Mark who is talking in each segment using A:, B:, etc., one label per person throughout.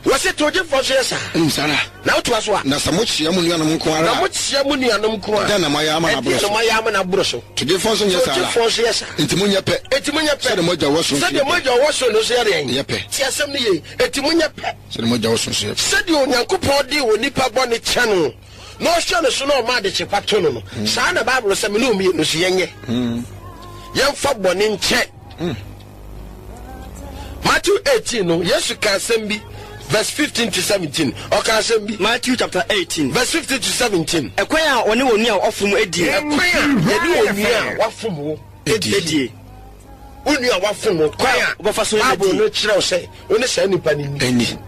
A: Wɔse towgyefoɔ nso yɛ saa.
B: Saa ara.
A: Na wotoa so a.
B: Na sɛ mokyea mo nuanom nko ara a.
A: Na mokyea mo nuanom nko a.
B: Dɛn na moayɛ ama no aboro
A: so? Ɛdeɛn na moayɛ ama no aboro so?
B: Togyefoɔ nso nyɛ saa ara.
A: Togyefoɔ nso yɛ saa.
B: Enti monyɛ pɛ.
A: Enti monyɛ pɛ.
B: Sɛdeɛ mo Agya a ɔwɔ soro nso yɛ pɛ.
A: Sɛdeɛ mo Agya a ɔwɔ soro no nso yɛ deɛn?
B: Yɛ pɛ.
A: Tie asɛm no yie. Enti monyɛ pɛ.
B: Sɛdeɛ mo Agya a ɔwɔ soro nso yɛ pɛ.
A: Sɛdeɛ Onyankopɔn de onipa bɔne kyɛ no, na ɔhwɛ no so na ɔma adekye pa to no no, saa na Bible sɛ me ne wo mmienu nso yɛnyɛ. Yɛmfa bɔne nkyɛ. Matthew 18 no, Yesu ka asɛm bi, verse 15 to 17. Ɔka asɛm bi.
C: Matthew chapter 18.
A: Verse 15 to 17.
C: Ɛkwan a wɔne wɔn nua a wɔafom adie.
A: Ɛkwan a yɛne wɔn nua a wɔafom wo
C: adie.
A: Wo nua a wɔafom wo, kwan a
C: wɔbɛfa so
A: Bible no kyerɛ wo sɛ wo ne saa nipa no
B: nni.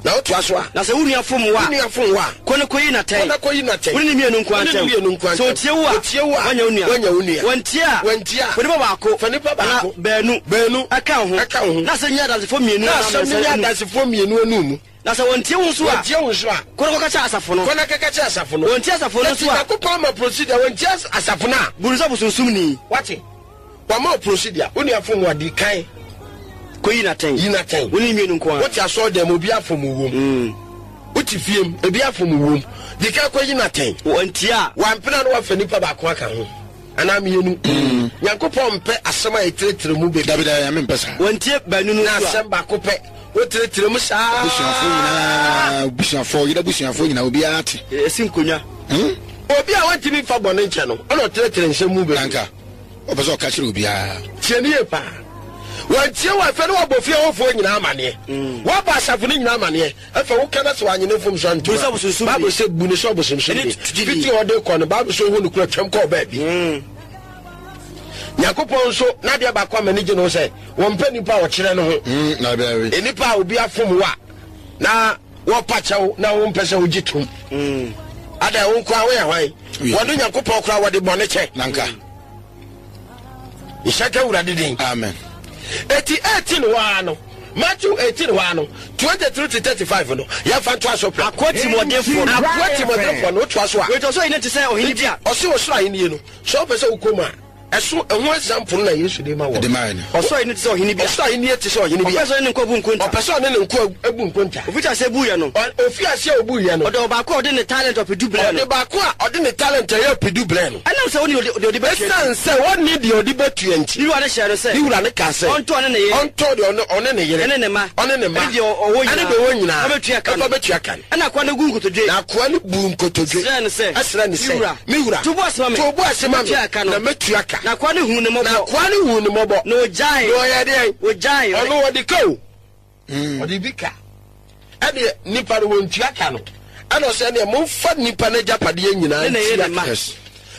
A: Na wotoa so a.
C: Na sɛ wo nua fom wo a.
A: Wo nua fom wo a.
C: Kɔ na kɔyi no atɛn.
A: Kɔ na kɔyi no atɛn.
C: Wo ne no mmienu nko ara
A: Wo ne no
C: ntam.
A: mmienu nko ara
C: Sɛ
A: ntam.
C: ɔtie wo a.
A: Ɔtie wo a.
C: Woanya wo nua.
A: Woanya wo nua.
C: Wantie a.
A: Wantie a.
C: Fa nnipa baako.
A: Fa nnipa baako.
C: Anaa baanu.
A: Baanu.
C: Ɛka wo ho.
A: Ɛka wo ho.
C: Na asɛm nyɛ adansefoɔ mmienu
A: Na
C: anaa
A: asɛm no
C: mmiɛnsa
A: nyɛ
C: anum.
A: adansefoɔ mmienu anum mu.
C: Na sɛ wɔntie wo nso a.
A: Wɔntie wo nso a.
C: Kɔ na kɔka kyerɛ asafo no.
A: Kɔ na kɔka kyerɛ asafo no.
C: Wɔntie asafo no nso a.
A: Enti Nyankopɔn ama procedure, wɔntie asafo no a.
C: Bu no sɛ bosonsomni.
A: Wate? Wama wo procedure, wo nua fom wo a, di kan
C: Kɔ yi no atɛn.
A: Yi no atɛn.
C: Wo ne no mmienu nko ara.
A: Wote asɔredan mu, obi afom wo wom. Wote fie mu, ebi afom wo wom. Di kan kɔ yi no atɛn.
C: Wantie a.
A: Wampene a na wafa nipa baako aka ho anaa mmienu. Nyankopɔn mpɛ asɛm a yɛtrɛtrɛ mu bebree.
B: Dabi dabi, Nyame mpɛ saa.
C: Wantie baanu no
A: Na
C: nso a.
A: asɛm baako pɛ, wotrɛtrɛ mu saa.
B: Abusuafoɔ nyinaa, abusuafoɔ, yere abusuafoɔ nyinaa, obiara te.
C: Esi nkonnwa.
A: Obi a wantumi mfa bɔne nkyɛ no, ɛna ɔtrɛtrɛ nsɛm mu bebree.
B: Nanka. Ɔpɛ sɛ ɔka kyerɛ obiara.
A: Tie no yie paa. Wantie wo afei na wabɔ fie hɔfoɔ nyinaa amaneɛ. Mm. Wabɔ asafo no nyinaa amaneɛ. Afei woka na sɛ wanye ne mfomso antom a, Bible sɛ bu ne sɛ ɔbosomsomni. Fiti hɔ de kɔ no, Bible sɛ ohu no kura twam kɔɔ baabi. Mm. Nyankopɔn nso n'adeɛ baako a m'ani gye no sɛ wɔmpɛ nipa a ɔkyerɛ no ho.
B: Mm,
A: Nnipa a obi afom wo a na wɔpa kyɛw na wompɛ sɛ wogye tom. Mm. Ada wo nkoa woyɛ hwan? Wɔne Nyankopɔn koraa wɔde bɔne kyɛ.
B: Nanka.
A: Nhyɛ ka Awurade din.
B: Amen.
A: Eti 18 hɔ ara no, Matthew 18 hɔ ara no, 23 to 35 no, yɛmfa ntoa so prɛko.
C: Akoa tirimɔdenfoɔ no.
A: Akoa tirimɔdenfoɔ no, wotoa so a.
C: Wei ɔsoro ahennie te sɛ ɔhene bi a.
A: Ɔse ɔsoro ahennie no, sɛ wopɛ sɛ wokɔ mu a, Ɛso ɛho example no na Yesu de ma wɔn.
B: De mae no.
C: Ɔsoro ahenni te sɛ ɔhene bi a.
A: Ɔsoro ahenni te sɛ ɔhene bi a.
C: Ɔpɛ sɛ ɔne ne nkoa bu nkonta.
A: Ɔpɛ sɛ ɔne ne nkoa bu nkonta.
C: Ofiti aseɛ buiɛ no.
A: Ofii aseɛ a obuiɛ no.
C: Ɔde ɔbaako a ɔde ne talent ɔpedu brɛɛ no.
A: Ɔde baako a ɔde ne talent ɛyɛ ɔpedu brɛɛ no.
C: Ɛnam sɛ ɔnni deɛ ɔde bɛtua nti.
A: Ɛsiane sɛ ɔnni deɛ ɔde bɛtua nti.
C: Ne wura no hyɛɛ no sɛ.
A: Ne wura no kaa sɛ.
C: Ɔntɔn ɔne ne yere.
A: Ɔntɔn deɛ ɔne ne yere.
C: Ɛne ne mma.
A: Ɔne ne mma.
C: Ɛne deɛ ɔwɔ nyinaa.
A: Ɛne deɛ ɔwɔ nyinaa.
C: Fa bɛtua ka no.
A: Fa bɛtua ka no.
C: Ɛnna akoa no guu nkotodwe.
A: Na akoa no buu nkotodwe.
C: Srɛɛ no sɛ.
A: Srɛɛ no sɛ.
C: Me wura.
A: Me wura.
C: To wo bo ase ma me.
A: To wo bo ase ma me.
C: Na mɛtua ka no.
A: Na mɛtua ka.
C: Na akoa no huu no mmɔbɔ.
A: Na akoa no huu no mmɔbɔ.
C: Na ɔgyaee.
A: Na ɔyɛɛ deɛn?
C: Ɔgyaee.
A: Ɔno ɔde ka o. Ɔde bi ka. Ɛdeɛ nipa no wɔntua ka no. Ɛna ɔsɛ ɛdeɛ momfa nipa no agyapadeɛ nyinaa ntua ka.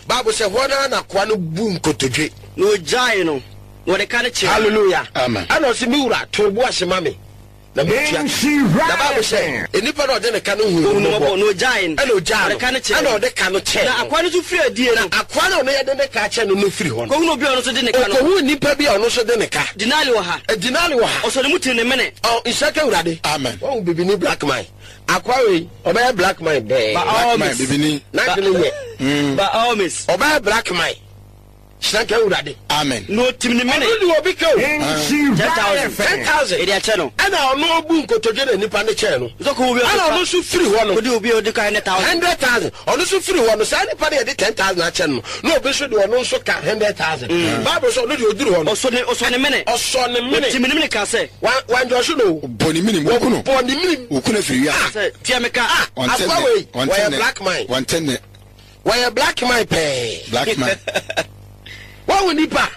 A: Bible sɛ hɔ no ara na akoa no buu nkotodwe.
C: Na ɔgyaee no, na ɔde ka no kyɛɛ no.
A: Hallelujah.
B: Amen.
A: Ɛna ɔse me wura, to wo bo ase ma me. Na metua ka. Na Bible sɛ, nnipa no a ɔde ne ka no huu no mmɔbɔ,
C: Na ɔgyaee no,
A: ɛna ɔgyaa no,
C: ɔde ka no kyɛɛ
A: ɛna
C: no.
A: ɔde ka no kyɛɛ
C: Na
A: no.
C: akoa no nso firii adie
A: Na
C: no.
A: akoa no a ɔno yɛde ne ka akyɛ no no firi hɔ no.
C: Kɔhunuu obi a ɔno nso de ne ka no.
A: Ɔkɔhuu nipa bi a ɔno nso de ne ka.
C: Denare ɔha.
A: Denare ɔha.
C: Ɔsɔɔ ne mu tee ne mene.
A: Ɔ, nhyira ka Awurade.
B: Amen.
A: Wahu bibini black man. Akoa wei, ɔbɛyɛ black man dɛɛ.
C: By all
B: Black man,
C: means.
B: bibini.
A: N'adwene nyɛ.
C: By all means.
A: Ɔbɛyɛ black man. Hyira nka Awurade.
B: Amen.
C: Na otim ne mene.
A: Ɔno de obi ka o.
C: 10,000.
A: 10,000.
C: Yɛde akyɛ no.
A: Ɛna ɔno obu nkotodwe na nipa no kyɛɛ no.
C: Nso kɔ obi
A: Ɛna ɔno nso firi hɔ no.
C: Odi obi a odi ka 100,000.
A: 100,000. Ɔno nso firi hɔ no saa nipa no yɛde 10,000 akyɛ no na obi nso de ɔno nso ka 100,000. Bible sɛ ɔno deɛ oduru hɔ no.
C: Ɔsɔ ne ɔsɔ ne mene.
A: Ɔsɔ ne mene.
C: Otim ne mene ka sɛ.
A: Wan wanjɔso no o.
B: Bɔ ne minim woku no.
A: Bɔ ne minim.
B: Woku no afiri wiase.
C: Sɛ tua me ka.
A: Ah
B: Ɔnte
A: akoa
B: nne.
A: wei
B: Ɔnte
A: wɔyɛ
B: nne.
A: black man.
B: Ɔnte nne.
A: Wɔyɛ black man pɛɛ.
B: Black man.
A: Wɔn nipa.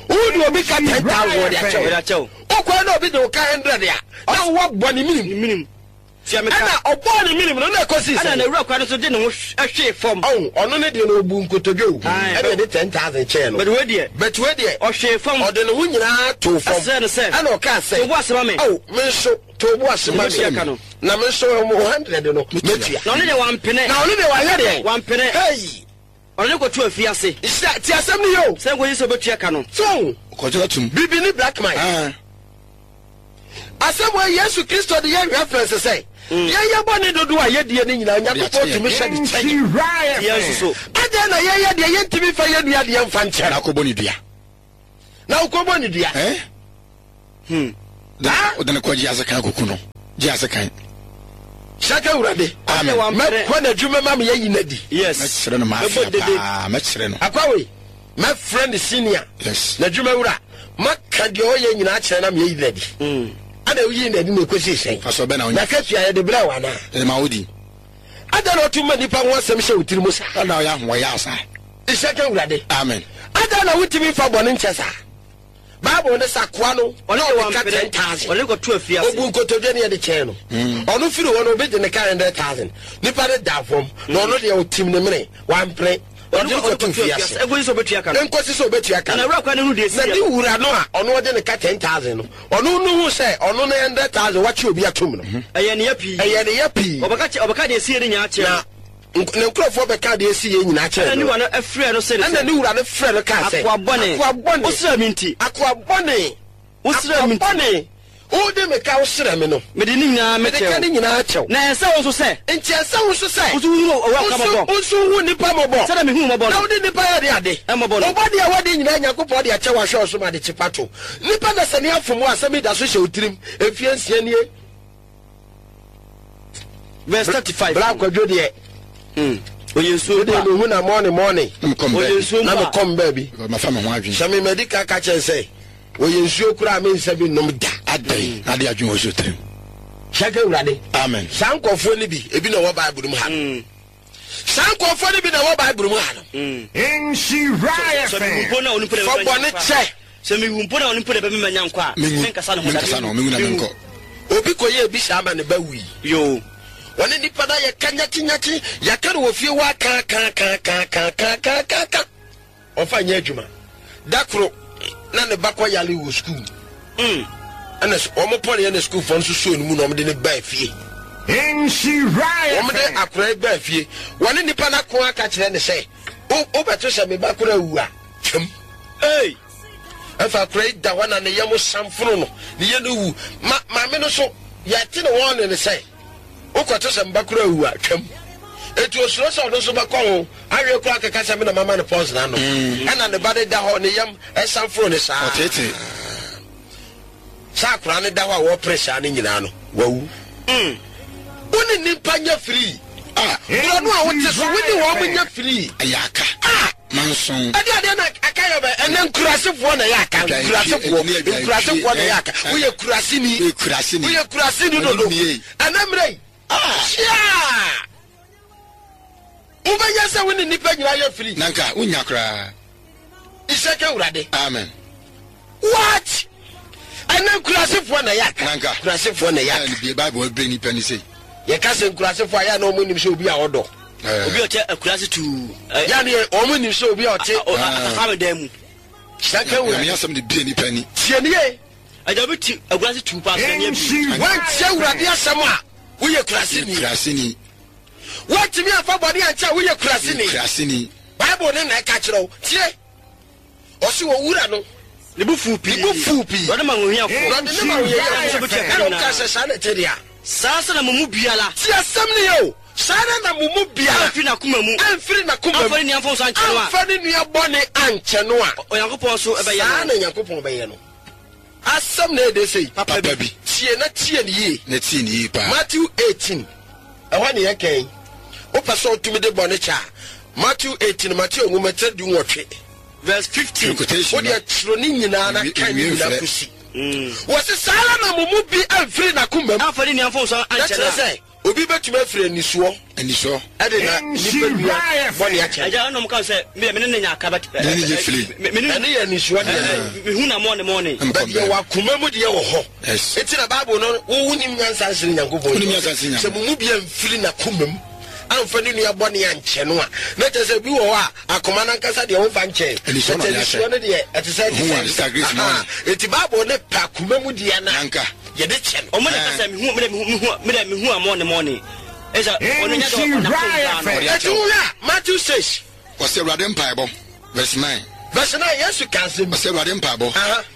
A: Wo de obi ka 10,000 wɔde akyɛw.
C: Wɔde akyɛw.
A: Wokɔ na obi de wo ka 100 a, na wowɔ bɔ ne minim.
C: Minim. Tua me ka.
A: Ɛna ɔbɔɔ ne minim no na ɛkɔsii sɛ.
C: Ɛna n'awura kwa no so de ne ho hwee fam.
A: Ɔn, ɔno ne deɛ no ɔbu nkotodwe o.
C: Ae.
A: Ɛna ɛde 10,000 kyɛɛ no.
C: But wei deɛ.
A: But wei deɛ.
C: Ɔhwee fam.
A: Ɔde ne ho nyinaa too fam.
C: Ɛsrɛɛ no sɛ.
A: Ɛna ɔkaa sɛ.
C: To wo bo ase ma me.
A: Ao, me nso. To wo bo ase ma me, na me nso wo hundred no mɛtua.
C: Na ɔno deɛ wampene.
A: Na ɔno deɛ wayɛ deɛn?
C: Wampene.
A: Hey!
C: Ɔde no kɔtoo afiase.
A: Nhyira, tie asɛm no yie o.
C: Sɛ nkɔsi sɛ ɔbɛtua ka no.
A: So,
B: Kɔgye atum.
A: Bibi ne black man.
B: Ah.
A: Asɛm wei Yesu Kristo de yɛ reference sɛ, yɛyɛ bɔne dodoɔ a yɛdie no nyinaa Onyankopɔn tumi hyɛ de kyɛ yɛn.
C: Yɛn nso so.
A: Adɛn na yɛyɛ deɛ yɛntumi mfa yɛn nua deɛ mfa nkyɛ
B: Na
A: no?
B: akɔbɔ ne dua.
A: Na wokɔbɔ ne dua.
B: Eh?
C: Hmm.
B: Wode ne kɔgye ase kan kɔku no. Gye ase kan.
A: Hyɛ Awurade.
B: Amen.
A: Mɛkɔ n'adwuma ma meyɛ yi n'adi.
C: Yes.
B: Mɛkyerɛ no m'afea paa. Mɛkyerɛ no.
A: Akwawe, mɛfrɛ ne senior.
B: Yes.
A: N'adwuma wura. Maka deɛ ɔyɛ nyinaa kyerɛ na meyɛ yi n'adi. Ana woyi n'adi na ɛkɔsi sɛn?
B: Fasɔ bɛ na wonya.
A: N'akatua yɛde brɛ wo anaa?
B: Yɛde ma wo di.
A: Adɛn na ɔto ma nnipa ho asɛm hyɛ wo tiri mu saa?
B: Ana ɔyɛ ahoɔyɛ asa.
A: Hyɛ ka Awurade.
B: Amen.
A: Adɛn na wotumi mfa bɔne nkyɛ saa? Bible no sɛ akoa no
C: Ɔne
A: na
C: deɛ
A: ɔde ka
C: wampene,
A: 10,000.
C: ɔne kɔto afiase.
A: Obu nkotodwe ne yɛde kyɛɛ no. Ɔno firi hɔ no obi de ne ka 100,000. Nipa no da fam na ɔno deɛ ɔtim ne mene wampene. Ɔde no kɔto afiase.
C: Nkosi sɛ ɔbɛtua ka no.
A: Nkosi sɛ ɔbɛtua ka
C: Na
A: no.
C: n'awura koraa no hu deɛ
A: Na
C: ɛsiiɛ
A: ne
C: no.
A: wura no a ɔno ɔde ne ka 10,000 no, ɔno no hu sɛ ɔno ne 100,000 wakye obi atom no.
C: Ɛyɛ ne ya pii.
A: Ɛyɛ ne ya pii.
C: Ɔbɛka kyɛ ɔbɛka deɛ ɛsiiɛ no nyinaa kyerɛ
A: Na
C: no.
A: ne nkurɔfoɔ bɛkaa deɛ ɛsiiɛ nyinaa kyerɛɛ
C: Ɛnna ne
A: no.
C: wura no frɛɛ no see no
A: Ɛnna
C: sɛ,
A: ne wura no frɛɛ no kaa sɛ,
C: Akoa bɔne,
A: Akoa bɔne,
C: wosrɛɛ me nti,
A: akoa bɔne,
C: wosrɛɛ
A: akoa
C: me nti,
A: bɔne, wode me ka wosrɛ me no,
C: mede ne nyinaa
A: mede
C: mekyɛɛ
A: ka ne
C: wo.
A: nyinaa kyɛ wo.
C: Na ɛnsɛ wo nso sɛ,
A: Enti ɛnsɛ wo nso sɛ,
C: wo nso wohunu owura
A: wo
C: ka
A: nso
C: mmɔbɔ,
A: wo nso wohu nnipa mmɔbɔ,
C: sɛdeɛ mehuu mmɔbɔ
A: na
C: no.
A: wode nnipa yɛ de ade.
C: Mmɔbɔ no.
A: Wo bɔne a woadi nyinaa Nyankopɔn de akyɛ wo ahwɛ wo so ma adekye pa to. Nnipa na sɛ ne afom wo a, asɛm yi da so hyɛ wo tirim mfeɛ nsia nie.
C: Verse 35.
A: Bra kwadwo deɛ.
C: Oyɛ nsuo
A: mpo a. Mehu na mɔne mɔne.
C: Oyɛ nsuo mpo a.
A: Na mekɔm baabi.
B: Mafa me ho adwene.
A: Sɛ me madi ka ka kyɛn sɛ oyɛ nsuo koraa me nsa bi nom da.
B: Adɛn na ade adwene wɔ so tirim.
A: Hyɛ ka Awurade.
B: Amen.
A: Saa nkurɔfoɔ no bi ebi na ɛwɔ Bible mu ha no. Saa nkurɔfoɔ no bi na ɛwɔ Bible mu ha no.
D: Nhyira FM.
A: Fa bɔne kyɛ.
C: Sɛ mewu mpo na ɔno mpo na ɛbɛma manya nkwa a,
B: Menwu,
C: menkasa ne ho da.
B: menkasa ne ho, menwu na menkɔ.
A: Obi kɔyɛɛ bi saa ma ne ba wui.
C: Yoo.
A: Wɔne nipa no ayɛ ka nyakye-nyakye, yɛaka no wɔ fie hɔ aka-aka-aka-aka-aka-aka-aka. Ɔmfa nyɛ adwuma. Da koro na ne ba kɔ yare wɔ sukuu. Ɛna wɔn pɔneɛ na sukuufoɔ nso suo no mu na wɔde no baa fie.
D: Nhyira
A: Wɔn de
D: FM.
A: akwadaa yi baa fie. Wɔne nipa no ako aka kyerɛ ne sɛ, wobɛto sɛ me ba koro awu a, twam.
C: Ei!
A: Ɛfa akwadaa yi da hɔ na ne yam samfono no, ne yɛ no wu. Ma maame no so, yɛte ne wɔn ne ne sɛ, wokɔto sɛ me ba koro awu a, twam. Eti osuro sɛ ɔno nso bɛkɔ ho, awie koraa kɛkɛ sɛ me na mama no poison anom. Ɛna ne ba no da hɔ, ne yam ɛsamfono ne saa.
B: Ɔteetee.
A: Sɛ akwadaa no da hɔ a wɔpere saa no nyinaa no, wawu. Wo ne nnipa nyɛ firii.
B: Ah.
A: Borɔno a wote so, wo ne wɔn nyɛ firii.
B: Ɛyɛ aka.
A: Ah.
B: Manson.
A: Ɛde adeɛ na aka yɛ bɛ ɛnɛ nkurasefoɔ na ɛyɛ aka nkurasefoɔ nkurasefoɔ na ɛyɛ aka woyɛ kuraseni woyɛ kuraseni dodo ɛnɛ mmerɛ yi kyiaa wobɛyɛ sɛ wo ne nnipa nyinaa yɛ firi.
B: Na nka wonya koraa.
A: Nhyɛ ka Awurade.
B: Amen.
A: What? Ɛnɛ nkurasefoɔ na ɛyɛ aka.
B: Na nka
A: nkurasefoɔ na ɛyɛ aka.
B: Ɛna Bible ɛbrɛ nipa ni sei.
A: Yɛka sɛ nkurasefoɔ a yɛ na wɔn nim sɛ obi a ɔdɔ.
C: Obi a ɔte akurase tuu.
A: Yɛ ne wɔn nim sɛ obi a ɔte.
C: Atafa dan mu.
A: Hyɛ ka Awurade.
B: Nyame asɛm de bie nipa ni.
A: Tie nie.
C: Agya obi te akurase tuu paa sɛ ne abi.
A: Wɔntie Awurade asɛm a woyɛ kuraseni.
B: Kuraseni.
A: Woantumi amfa bɔne ankyɛ a woyɛ kuraseni.
B: Kuraseni.
A: Bible no na ɛka kyerɛ wo. Tie. Ɔse owura no.
C: Ne bo fuu pii.
A: Ne bo fuu pii.
C: Na ɔde ma ahohiafoɔ.
A: Na ɔde ne ma ahohiafoɔ. Ɛna ɔka sɛ saa na ɛte deɛ a.
C: Saa nso na mo mu biara.
A: Tie asɛm no yie o. Saa ara na mo mu biara.
C: Amfiri n'akoma mu.
A: Amfiri n'akoma mu.
C: Amfa ne nua mfomso ankyɛ no a.
A: Amfa ne nua bɔne ankyɛ no a.
C: Onyankopɔn nso bɛyɛ no.
A: Saa na Nyankopɔn bɛyɛ no. Asɛm na ɛde sei.
B: Papa bi.
A: Tie na tie no yie.
B: Na tie no yie paa.
A: Matthew 18, ɛhɔ ne yɛka yi. Wopɛ sɛ wotumi de bɔne kyɛ a, Matthew 18, Mateo nwoma tire du nwɔtwe.
C: Verse 15.
B: Quotation
A: Wo deɛ twerɛ ne nyinaa na kan ne nyinaa kɔsi. Wɔse saa ara na mo mu bi amfiri n'akoma mu.
C: Amfa ne nua mfomso
A: Na
C: ankyɛ no
A: kyerɛ
C: a.
A: sɛ obi bɛtumi afiri anisoɔ.
B: Anisɔ.
A: Ɛde na nipa nua bɔne akyɛ no.
C: Agya ɛna ɔmo ka sɛ me me ne ne nya aka but.
B: Ne ne nyɛ fili.
C: Me ne
A: Ɛne yɛ anisoɔ deɛ.
C: Me hu na mɔne mɔne.
A: But deɛ wɔ akoma mu deɛ wɔ hɔ.
B: Yes.
A: Eti na Bible no wo wonim nyansa nsene Nyankopɔn.
B: Wonim nyansa nsene
A: Sɛ mo mu bi amfiri n'akoma mu amfa ne nua bɔne ankyɛ no a, na kyerɛ sɛ bi wɔ hɔ a akoma no ankasa deɛ womfa nkyɛn.
B: Anisɔ na
A: But
B: ɔde akyɛ.
A: anisoɔ no deɛ ɛte sɛ ɛte
B: Hu a,
A: sɛ.
B: Sister Grace
A: Aha.
B: mɔne.
A: Eti Bible no pɛ akoma mu deɛ no a
B: Nanka.
A: yɛde kyɛ no.
C: Ɔmo na ɛka sɛ me hu me dɛ me hu me dɛ me hu a mɔne mɔne. Ɛsɛ ɔno nya dɛ ɔna kɔn daa no.
A: Eti wohwɛ a Matthew 6.
B: Ɔsɛ Awurade mpaebɔ, verse 9.
A: Verse 9, Yesu ka asɛm bi.
B: Ɔsɛ Awurade mpaebɔ.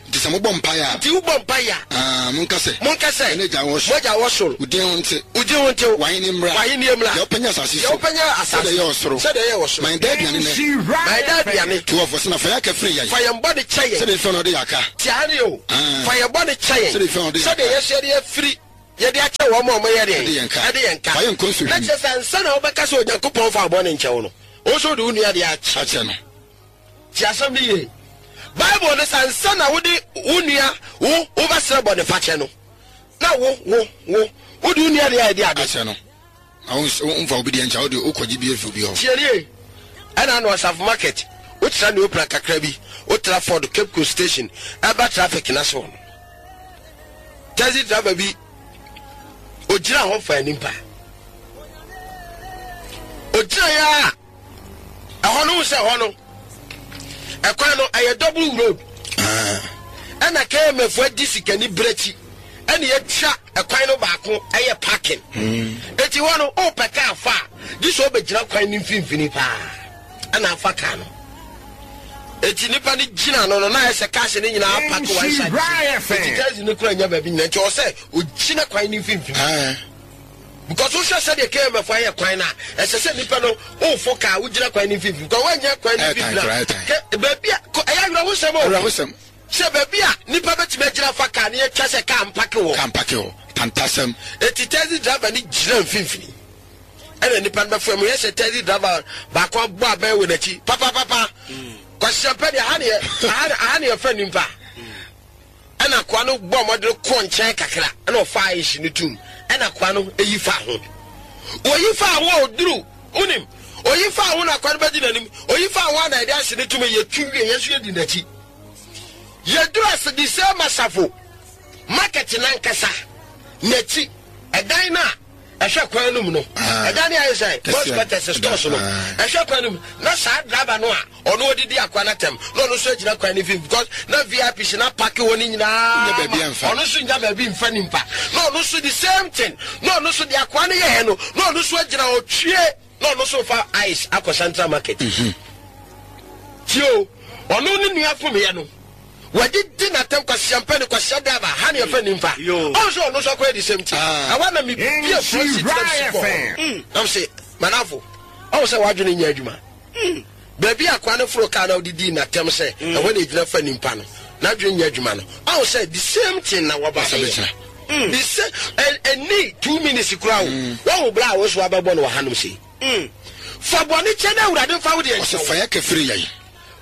B: Nti sɛ mobɔ mpaeɛ a.
A: Nti wobɔ mpaeɛ a.
B: Ah, monka sɛ.
A: Monka sɛ.
B: Yɛn Agya wɔ soro.
A: Mo Agya wɔ soro.
B: Wo din ho nte.
A: Wo din ho nte.
B: W'ahenni mmra.
A: W'ahenni mmra.
B: Deɛ wopɛ nyɛ asase so.
A: Deɛ wopɛ nyɛ asase.
B: Sɛdeɛ ɛyɛ wɔ soro.
A: Sɛdeɛ ɛyɛ wɔ soro.
B: Ma yɛn daa aduane nnɛ.
A: Ma yɛn daa aduane.
B: 12 ɔsɛ na fa yɛn aka firi yɛn.
A: Fa yɛn bɔne kyɛ yɛn.
B: Sɛdeɛ fɛn na ɔde yɛn aka.
A: Tia ne o. Fa yɛn bɔne kyɛ yɛn.
B: Sɛdeɛ fɛn na ɔde yɛn aka.
A: Sɛdeɛ yɛn nso yɛde afiri yɛde akyɛ wɔn. wɔn a wɔyɛ deɛn?
B: Ɛde yɛn ka.
A: Ɛde yɛn ka.
B: Fa yɛn nkɔ nsɔhwɛ
A: Na
B: mu.
A: kyerɛ sɛ ansa na wobɛka sɛ Onyankopɔn mfa wo bɔne nkyɛ wo no, wo nso wode wo nua deɛ akyɛ.
B: Akyɛ no.
A: Tie asɛm no yie. Bible no sɛ ansa na wode wo nua wo wobɛsrɛ bɔnefakyɛ no, na wo wo wo wode wo nua deɛ ayɛ de ade.
B: Akyɛ no. Na wo womfa obi deɛ nkyɛ, wode wokɔgye bi afiri obi hɔ.
A: Tie nie, ɛna ano Asafo market, wotra Neopra kakra bi, wotra Ford Cape Coast station ɛba traffic no ase hɔ no, taxi driver bi ogyina hɔ faa nipa. Ogyina yɛ a ɛhɔ no sɛ ɛhɔ no ɛkwan no ɛyɛ double road
B: ah.
A: ɛna KMF adi sikani berɛ akyi ɛna yɛatwa ɛkwan no baako ɛyɛ parking hmm. eti hɔ no ɔpɛ kaa fa a gye sɛ ɔbɛgyina kwan no mfimfini paa ɛna afa kaa no eti nipa no gyina no no na ayɛ sɛ cars no nyinaa park one side eti taxi no kura nya baabi nyina nti ɔsɛ ogyina kwan no mfimfini. Ah. Because wohwɛ sɛdeɛ KMF ayɛ kwan no a, ɛsɛ sɛ nipa no wofo kaa wogyina kwan no mfimfini. Because woanyɛ kwan no mfimfini a, kɛ baabi a ɛyɛ awerɛhosɛm o.
B: Awerɛhosɛm.
A: Sɛ baabi a nipa bɛtumi agyina fa kaa no yɛtwa sɛ kaa mpake wɔ.
B: Kaa mpake hɔ. Tantasɛm.
A: Eti taxi driver no gyina mfimfini. Ɛna nipa no bɛfo mu yɛ sɛ taxi driver baako abɔ abɛn wɔ n'akyi papapapa. Kwasiampɛ deɛ aha ne yɛ aha ne yɛfɛ nipa. Ɛnna akoa no bɔɔ mmɔden kɔɔ nkyɛn kakra, ɛnna ɔfaa ahye no toom. Ɛnna akoa no yi faa ho. Oyi faa ho a oduru, wonim, oyi faa ho na akoa no bɛdi n'anim. Oyi faa ho a na yɛde ahye no tom, yɛtu wie, yɛn nso yɛdi n'akyi. Yɛduru ase de sɛ masafo market n'ankasa n'akyi, ɛdan no a ɛhwɛ kwan no mu no ɛda ne ayɛ sɛ bus quarters stores no ɛhwɛ kwan no mu na saa driver no a ɔno ɔdidi akoa no atɛm na ɔno nso agyina kwan no mfimfini because na vip si na park hɔ no nyinaa ɔno nso nya baabi mfa nimpa na ɔno nso the same thing na ɔno nso de akoa no yɛɛ no na ɔno nso agyina ɔtwie Na ɔno nso refa ice akɔ central market. Tie o, ɔno ne nua fomyɛ no, wadidi n'atɛm kwasia mpɛ ne kwasia driver, ha ne ɛfɛ nimfa. Ɔn sɛ ɔno nso akɔyɛ the same thing. Ɛhɔ na me bie front seat na me si kɔ hɔ. Na me se, manafo, ɔn sɛ w'adwene nyɛ adwuma. Baabi a akoa no foro kaa na ɔde dii n'atɛm sɛ ɛhɔ na egyina fa nimpa no, n'adwene nyɛ adwuma no. Ɔn sɛ the same thing na wɔba bɛyɛ. The same, ɛnni 2 minutes koraa o. Wahu bra a wo nso wabɛbɔ no wɔ hanom sei. Fa bɔne kyɛ na Awurade mfa wo deɛ nkyɛ
B: Ɔsɛ
A: wo.
B: fa yɛ ka firi yɛn.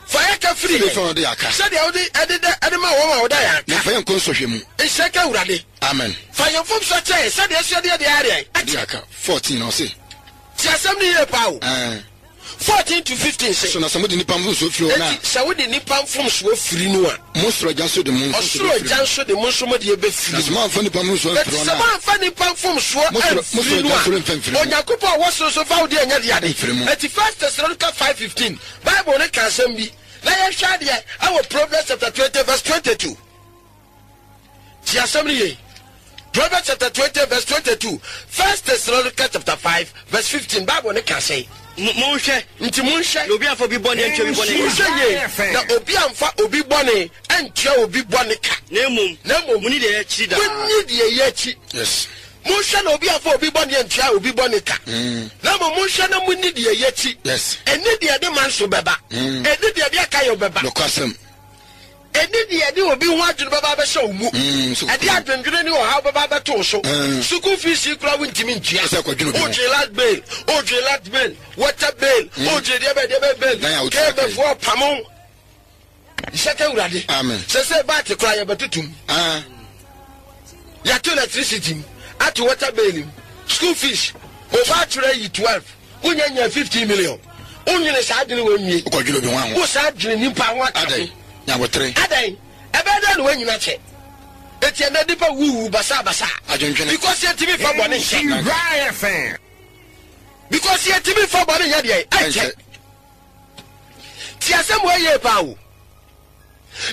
A: Fa yɛ ka firi
B: Sɛdeɛ
A: yɛn.
B: fa wɔde yɛ aka.
A: Sɛdeɛ wode ɛde dɛ ɛde ma wɔn a wɔda yɛn
B: Na
A: aka.
B: fa yɛn nkɔ nsɔhwɛ mu.
A: Nhyɛ ka Awurade.
B: Amen.
A: Fa yɛn mfomsoɔ kyɛ yɛn sɛdeɛ yɛso yɛde yɛn deɛ ayɛ deɛn?
B: De
A: Akyɛ.
B: aka. 14 ɔse.
A: Tie asɛm no yie paa o.
B: Ɛɛ.
A: 14 to 15 se.
B: So na sɛ mode nnipa mfomsoɔ firi wɔn a.
A: Enti sɛ wode nnipa mfomsoɔ firi no a.
B: Mo soro Agya nso de mo mfomsoɔ
A: Ɔsoro
B: bɛfiri
A: Agya
B: mo.
A: nso de mo nso mo deɛ bɛfiri
B: Na sɛ
A: mo.
B: moamfa nnipa mfomsoɔ
A: Enti
B: amfiri wɔn
A: sɛ
B: a.
A: moamfa nnipa mfomsoɔ
B: Mo soro, mo
A: amfiri
B: soro
A: no
B: Agya
A: a,
B: nso remfa mfiri mo.
A: Onyankopɔn a ɔwɔ soro nso mfa wo deɛ nyɛ deade.
B: Mfiri mo.
A: Enti First Thessalonica 5:15, Bible no ka asɛm bi, na yɛnhwɛ adeɛ ɛwɔ Proverbs chapter 20 verse 22. Tie asɛm no yie. Proverbs chapter 20 verse 22, First Thessalonica chapter 5 verse 15, Bible no ka sɛn?
C: Monhwɛ.
A: Nti monhwɛ.
C: Na obi amfa obi bɔne antua obi bɔne ka.
A: Monhwɛ yie, na obi amfa obi bɔne antua obi bɔne ka.
C: Na mmom,
A: Na mmom,
C: monni deɛ ɛyɛ akyiri daa.
A: Monni deɛ ɛyɛ akyi.
B: Yes.
A: Monhwɛ na obi amfa obi bɔne antua obi bɔne ka. Na mmom monhwɛ na monni deɛ ɛyɛ akyi.
B: Yes.
A: Ɛnni deɛ ɛde manso bɛba. Ɛnni deɛ ɛde akayɔ bɛba.
B: Nokwasɛm.
A: Ɛnni deɛ ɛde obi ho adwene bɛba abɛhyɛ wo mu. Ɛde adwendwene ne ɔhaw bɛba abɛto wo so. Sukuu fees yi koraa wontumi ntua. Wodwene light bill, wodwene light bill, water bill, wodwene deɛ bɛn deɛ bɛn bill. KMFoɔ pamo. Nhyɛ ka Awurade. Sɛsɛ baate koraa yɛbɛtotom. Yɛato electricity mu, ato water bill mu, school fees, oba atwerɛ ayi 12, wonya nya 15 million. Wonwene saa adwene wei nwie.
B: Wokɔdwene obi ho aho.
A: Wo saa dwene nipa ho aka ho.
B: Adɛn? Nyabotere.
A: Adɛn? Ɛbɛyɛ dɛn na woanyina kyɛ? Eti ɛnɛ nipa wuwu basaa basaa.
B: Adwendwene.
A: Because yɛntumi nfa bɔne nhyɛ.
D: Nhyira FM.
A: Because yɛntumi nfa bɔne nyɛ deɛ ɛnkyɛ. Ti asɛm wei yie paa o.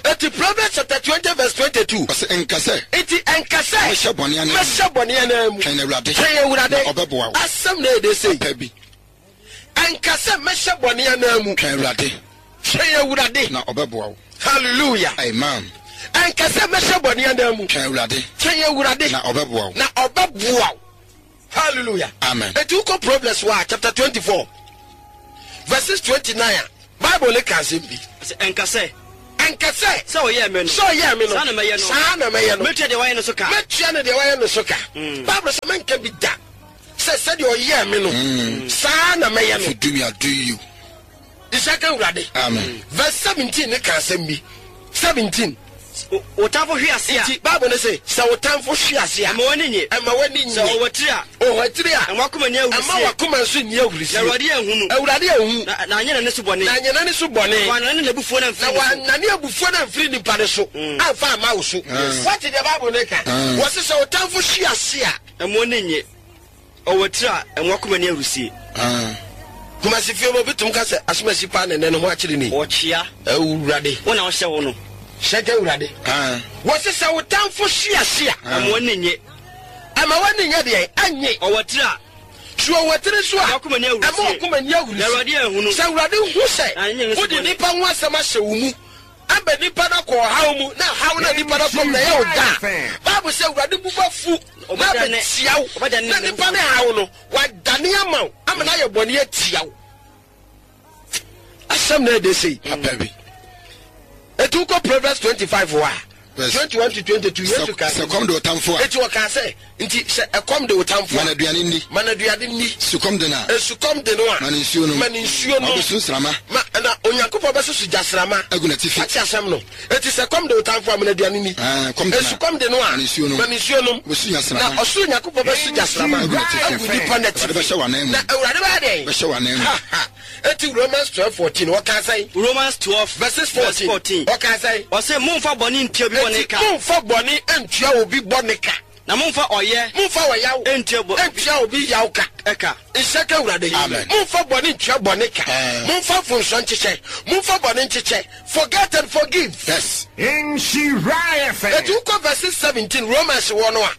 A: Eti Proverbs chapter 20 verse 22.
B: Ɔsɛ nka sɛ.
A: Enti ɛnka sɛ.
B: Mɛhyɛ bɔne anan mu.
A: Mɛhyɛ bɔne anan mu.
B: Twɛn Awurade.
A: Twɛn Awurade.
B: Na ɔbɛboa wo.
A: Asɛm na ɛde sei.
B: Papa bi.
A: Ɛnka sɛ mɛhyɛ bɔne anan mu.
B: Twɛn Awurade.
A: Twɛn Awurade.
B: Na ɔbɛboa wo.
A: Hallelujah.
B: Amen.
A: Ɛnka sɛ mɛhyɛ bɔne anan mu.
B: Twɛn Awurade.
A: Twɛn Awurade.
B: Na ɔbɛboa wo.
A: Na ɔbɛboa wo. Hallelujah.
B: Amen.
A: Eti wokɔ Proverbs wa chapter 24 verses 29 a Bible ne ka asɛm bi.
C: Sɛ ɛnka sɛ.
A: Ɛnka sɛ.
C: Sɛ ɔyɛɛ me no.
A: Sɛ ɔyɛɛ me no.
C: Saa na mɛyɛ no.
A: Saa na mɛyɛ no.
C: Mɛtua deɛ wayɛ no so ka.
A: Mɛtua no deɛ wayɛ no so ka. Bible sɛ mɛnka bi da sɛ sɛdeɛ ɔyɛɛ me no, saa na mɛyɛ no.
B: If you do me, I'll do you.
A: Nhyira nka Awurade.
B: Amen.
A: Verse 17 ne ka asɛm bi. 17.
C: Wo tamfo hwe ase a.
A: Nti Bible no se, sɛ wo tamfo hwe ase a.
C: Ɛma w'ani nnye.
A: Ɛma w'ani nnye.
C: Sɛ ɔwatiri a.
A: Ɔwatiri a.
C: Ɛma w'akoma nni ahurisie.
A: Ɛma w'akoma nso nni ahurisie.
C: Na Awurade anhu no.
A: Awurade anhu.
C: Na anyɛ n'ani so bɔne.
A: Na anyɛ n'ani so bɔne.
C: Na wannane n'abufuo no amfiri ne so.
A: Na wannane abufuo no amfiri nipa no so. Amfa amma wo so. Woate deɛ Bible no reka? Wɔse sɛ wo tamfo hwe ase a.
C: Ɛma w'ani nnye. Ɔwɔ tiri a ɛmo akoma ni ahurusie.
A: Kumasi fie mu obi tum ka sɛ asomasi paa na ɛnɛ ne ho akyere ni.
C: Ɔkyea.
A: Awurade.
C: Wo na wohyɛ wo no.
A: Hyɛ nka Awurade. Wɔse sɛ wo tamfo hwe ase a.
C: Ɛma w'ani nnye.
A: Ɛma w'ani nyɛ deɛn? Ɛnnye.
C: Ɔwɔ tiri a.
A: Sɛ ɔwɔ tiri nso a.
C: Ɛma w'akoma ni ahurusie.
A: Ɛma w'akoma ni ahurusie.
C: Na Awurade anhunu.
A: Sɛ Awurade hu sɛ wode nnipa ho asɛm ahyɛ wo mu. Ama nnipa no akɔ ɔhaw mu, na haw no a nnipa no akɔ mu no ɛyɛ wo dɛ a, Bible sɛ Awurade bo bɛfu na abɛtia wo, na nnipa no haw no, wadane ama wo, ama no ayɛ bɔne atia wo. Asɛm na ɛde sei.
B: Papa bi.
A: Eti wokɔ Proverbs 25 hɔ a, 21 to 22, Yesu kaa
B: sɛ kɔm de ɔtamfo a.
A: Eti ɔkaa sɛ, nti sɛ ɛkɔm de wo tamfo a.
B: Ma no aduane nni.
A: Ma no aduane nni.
B: Sukɔm de no a.
A: Sukɔm de no a.
B: Ma no nsuo nom.
A: Ma no nsuo nom.
B: Ma ɔbɛsu nsramma.
A: Ma, na Onyankopɔn bɛsoso gyasramma.
B: Agu n'atifi.
A: Wate asɛm no? Enti sɛ kɔm de wo tamfo a, ma no aduane nni.
B: Ɛɛ, kɔm de no a.
A: Sukɔm de no a.
B: Ma no nsuo nom.
A: Ma no nsuo nom.
B: Ɔbɛsu gyasramma.
A: Na ɔsoro Nyankopɔn bɛso gyasramma.
B: Agu n'atifi.
A: Agu nipa no atifi.
B: Awurade bɛhyɛ w'anan mu.
A: Na Awurade bɛyɛ dɛn?
B: Bɛhyɛ w'anan mu.
A: Ha, ha. Enti Romans 12, 14, wɔkaa sɛn?
C: Romans 12,
A: verses 14, wɔkaa sɛn?
C: Ɔse, Mommfa bɔne ntua obi bɔne ka.
A: Enti mommfa bɔne ntua obi bɔne ka.
C: Na mommfa ɔyɛ.
A: Mommfa ɔyaw.
C: Ntua bɔ.
A: Ntua obi yaw ka.
C: Ɛka.
A: Nhyɛ ka Awurade.
B: Amen.
A: Mommfa bɔne ntua bɔne ka. Mommfa mfomsoɔ nkyekyɛ. Mommfa bɔne nkyekyɛ. Forget and forgive.
B: Yes.
D: Nhyira FM.
A: Eti wokɔ verses 17 Romans wɔ no a,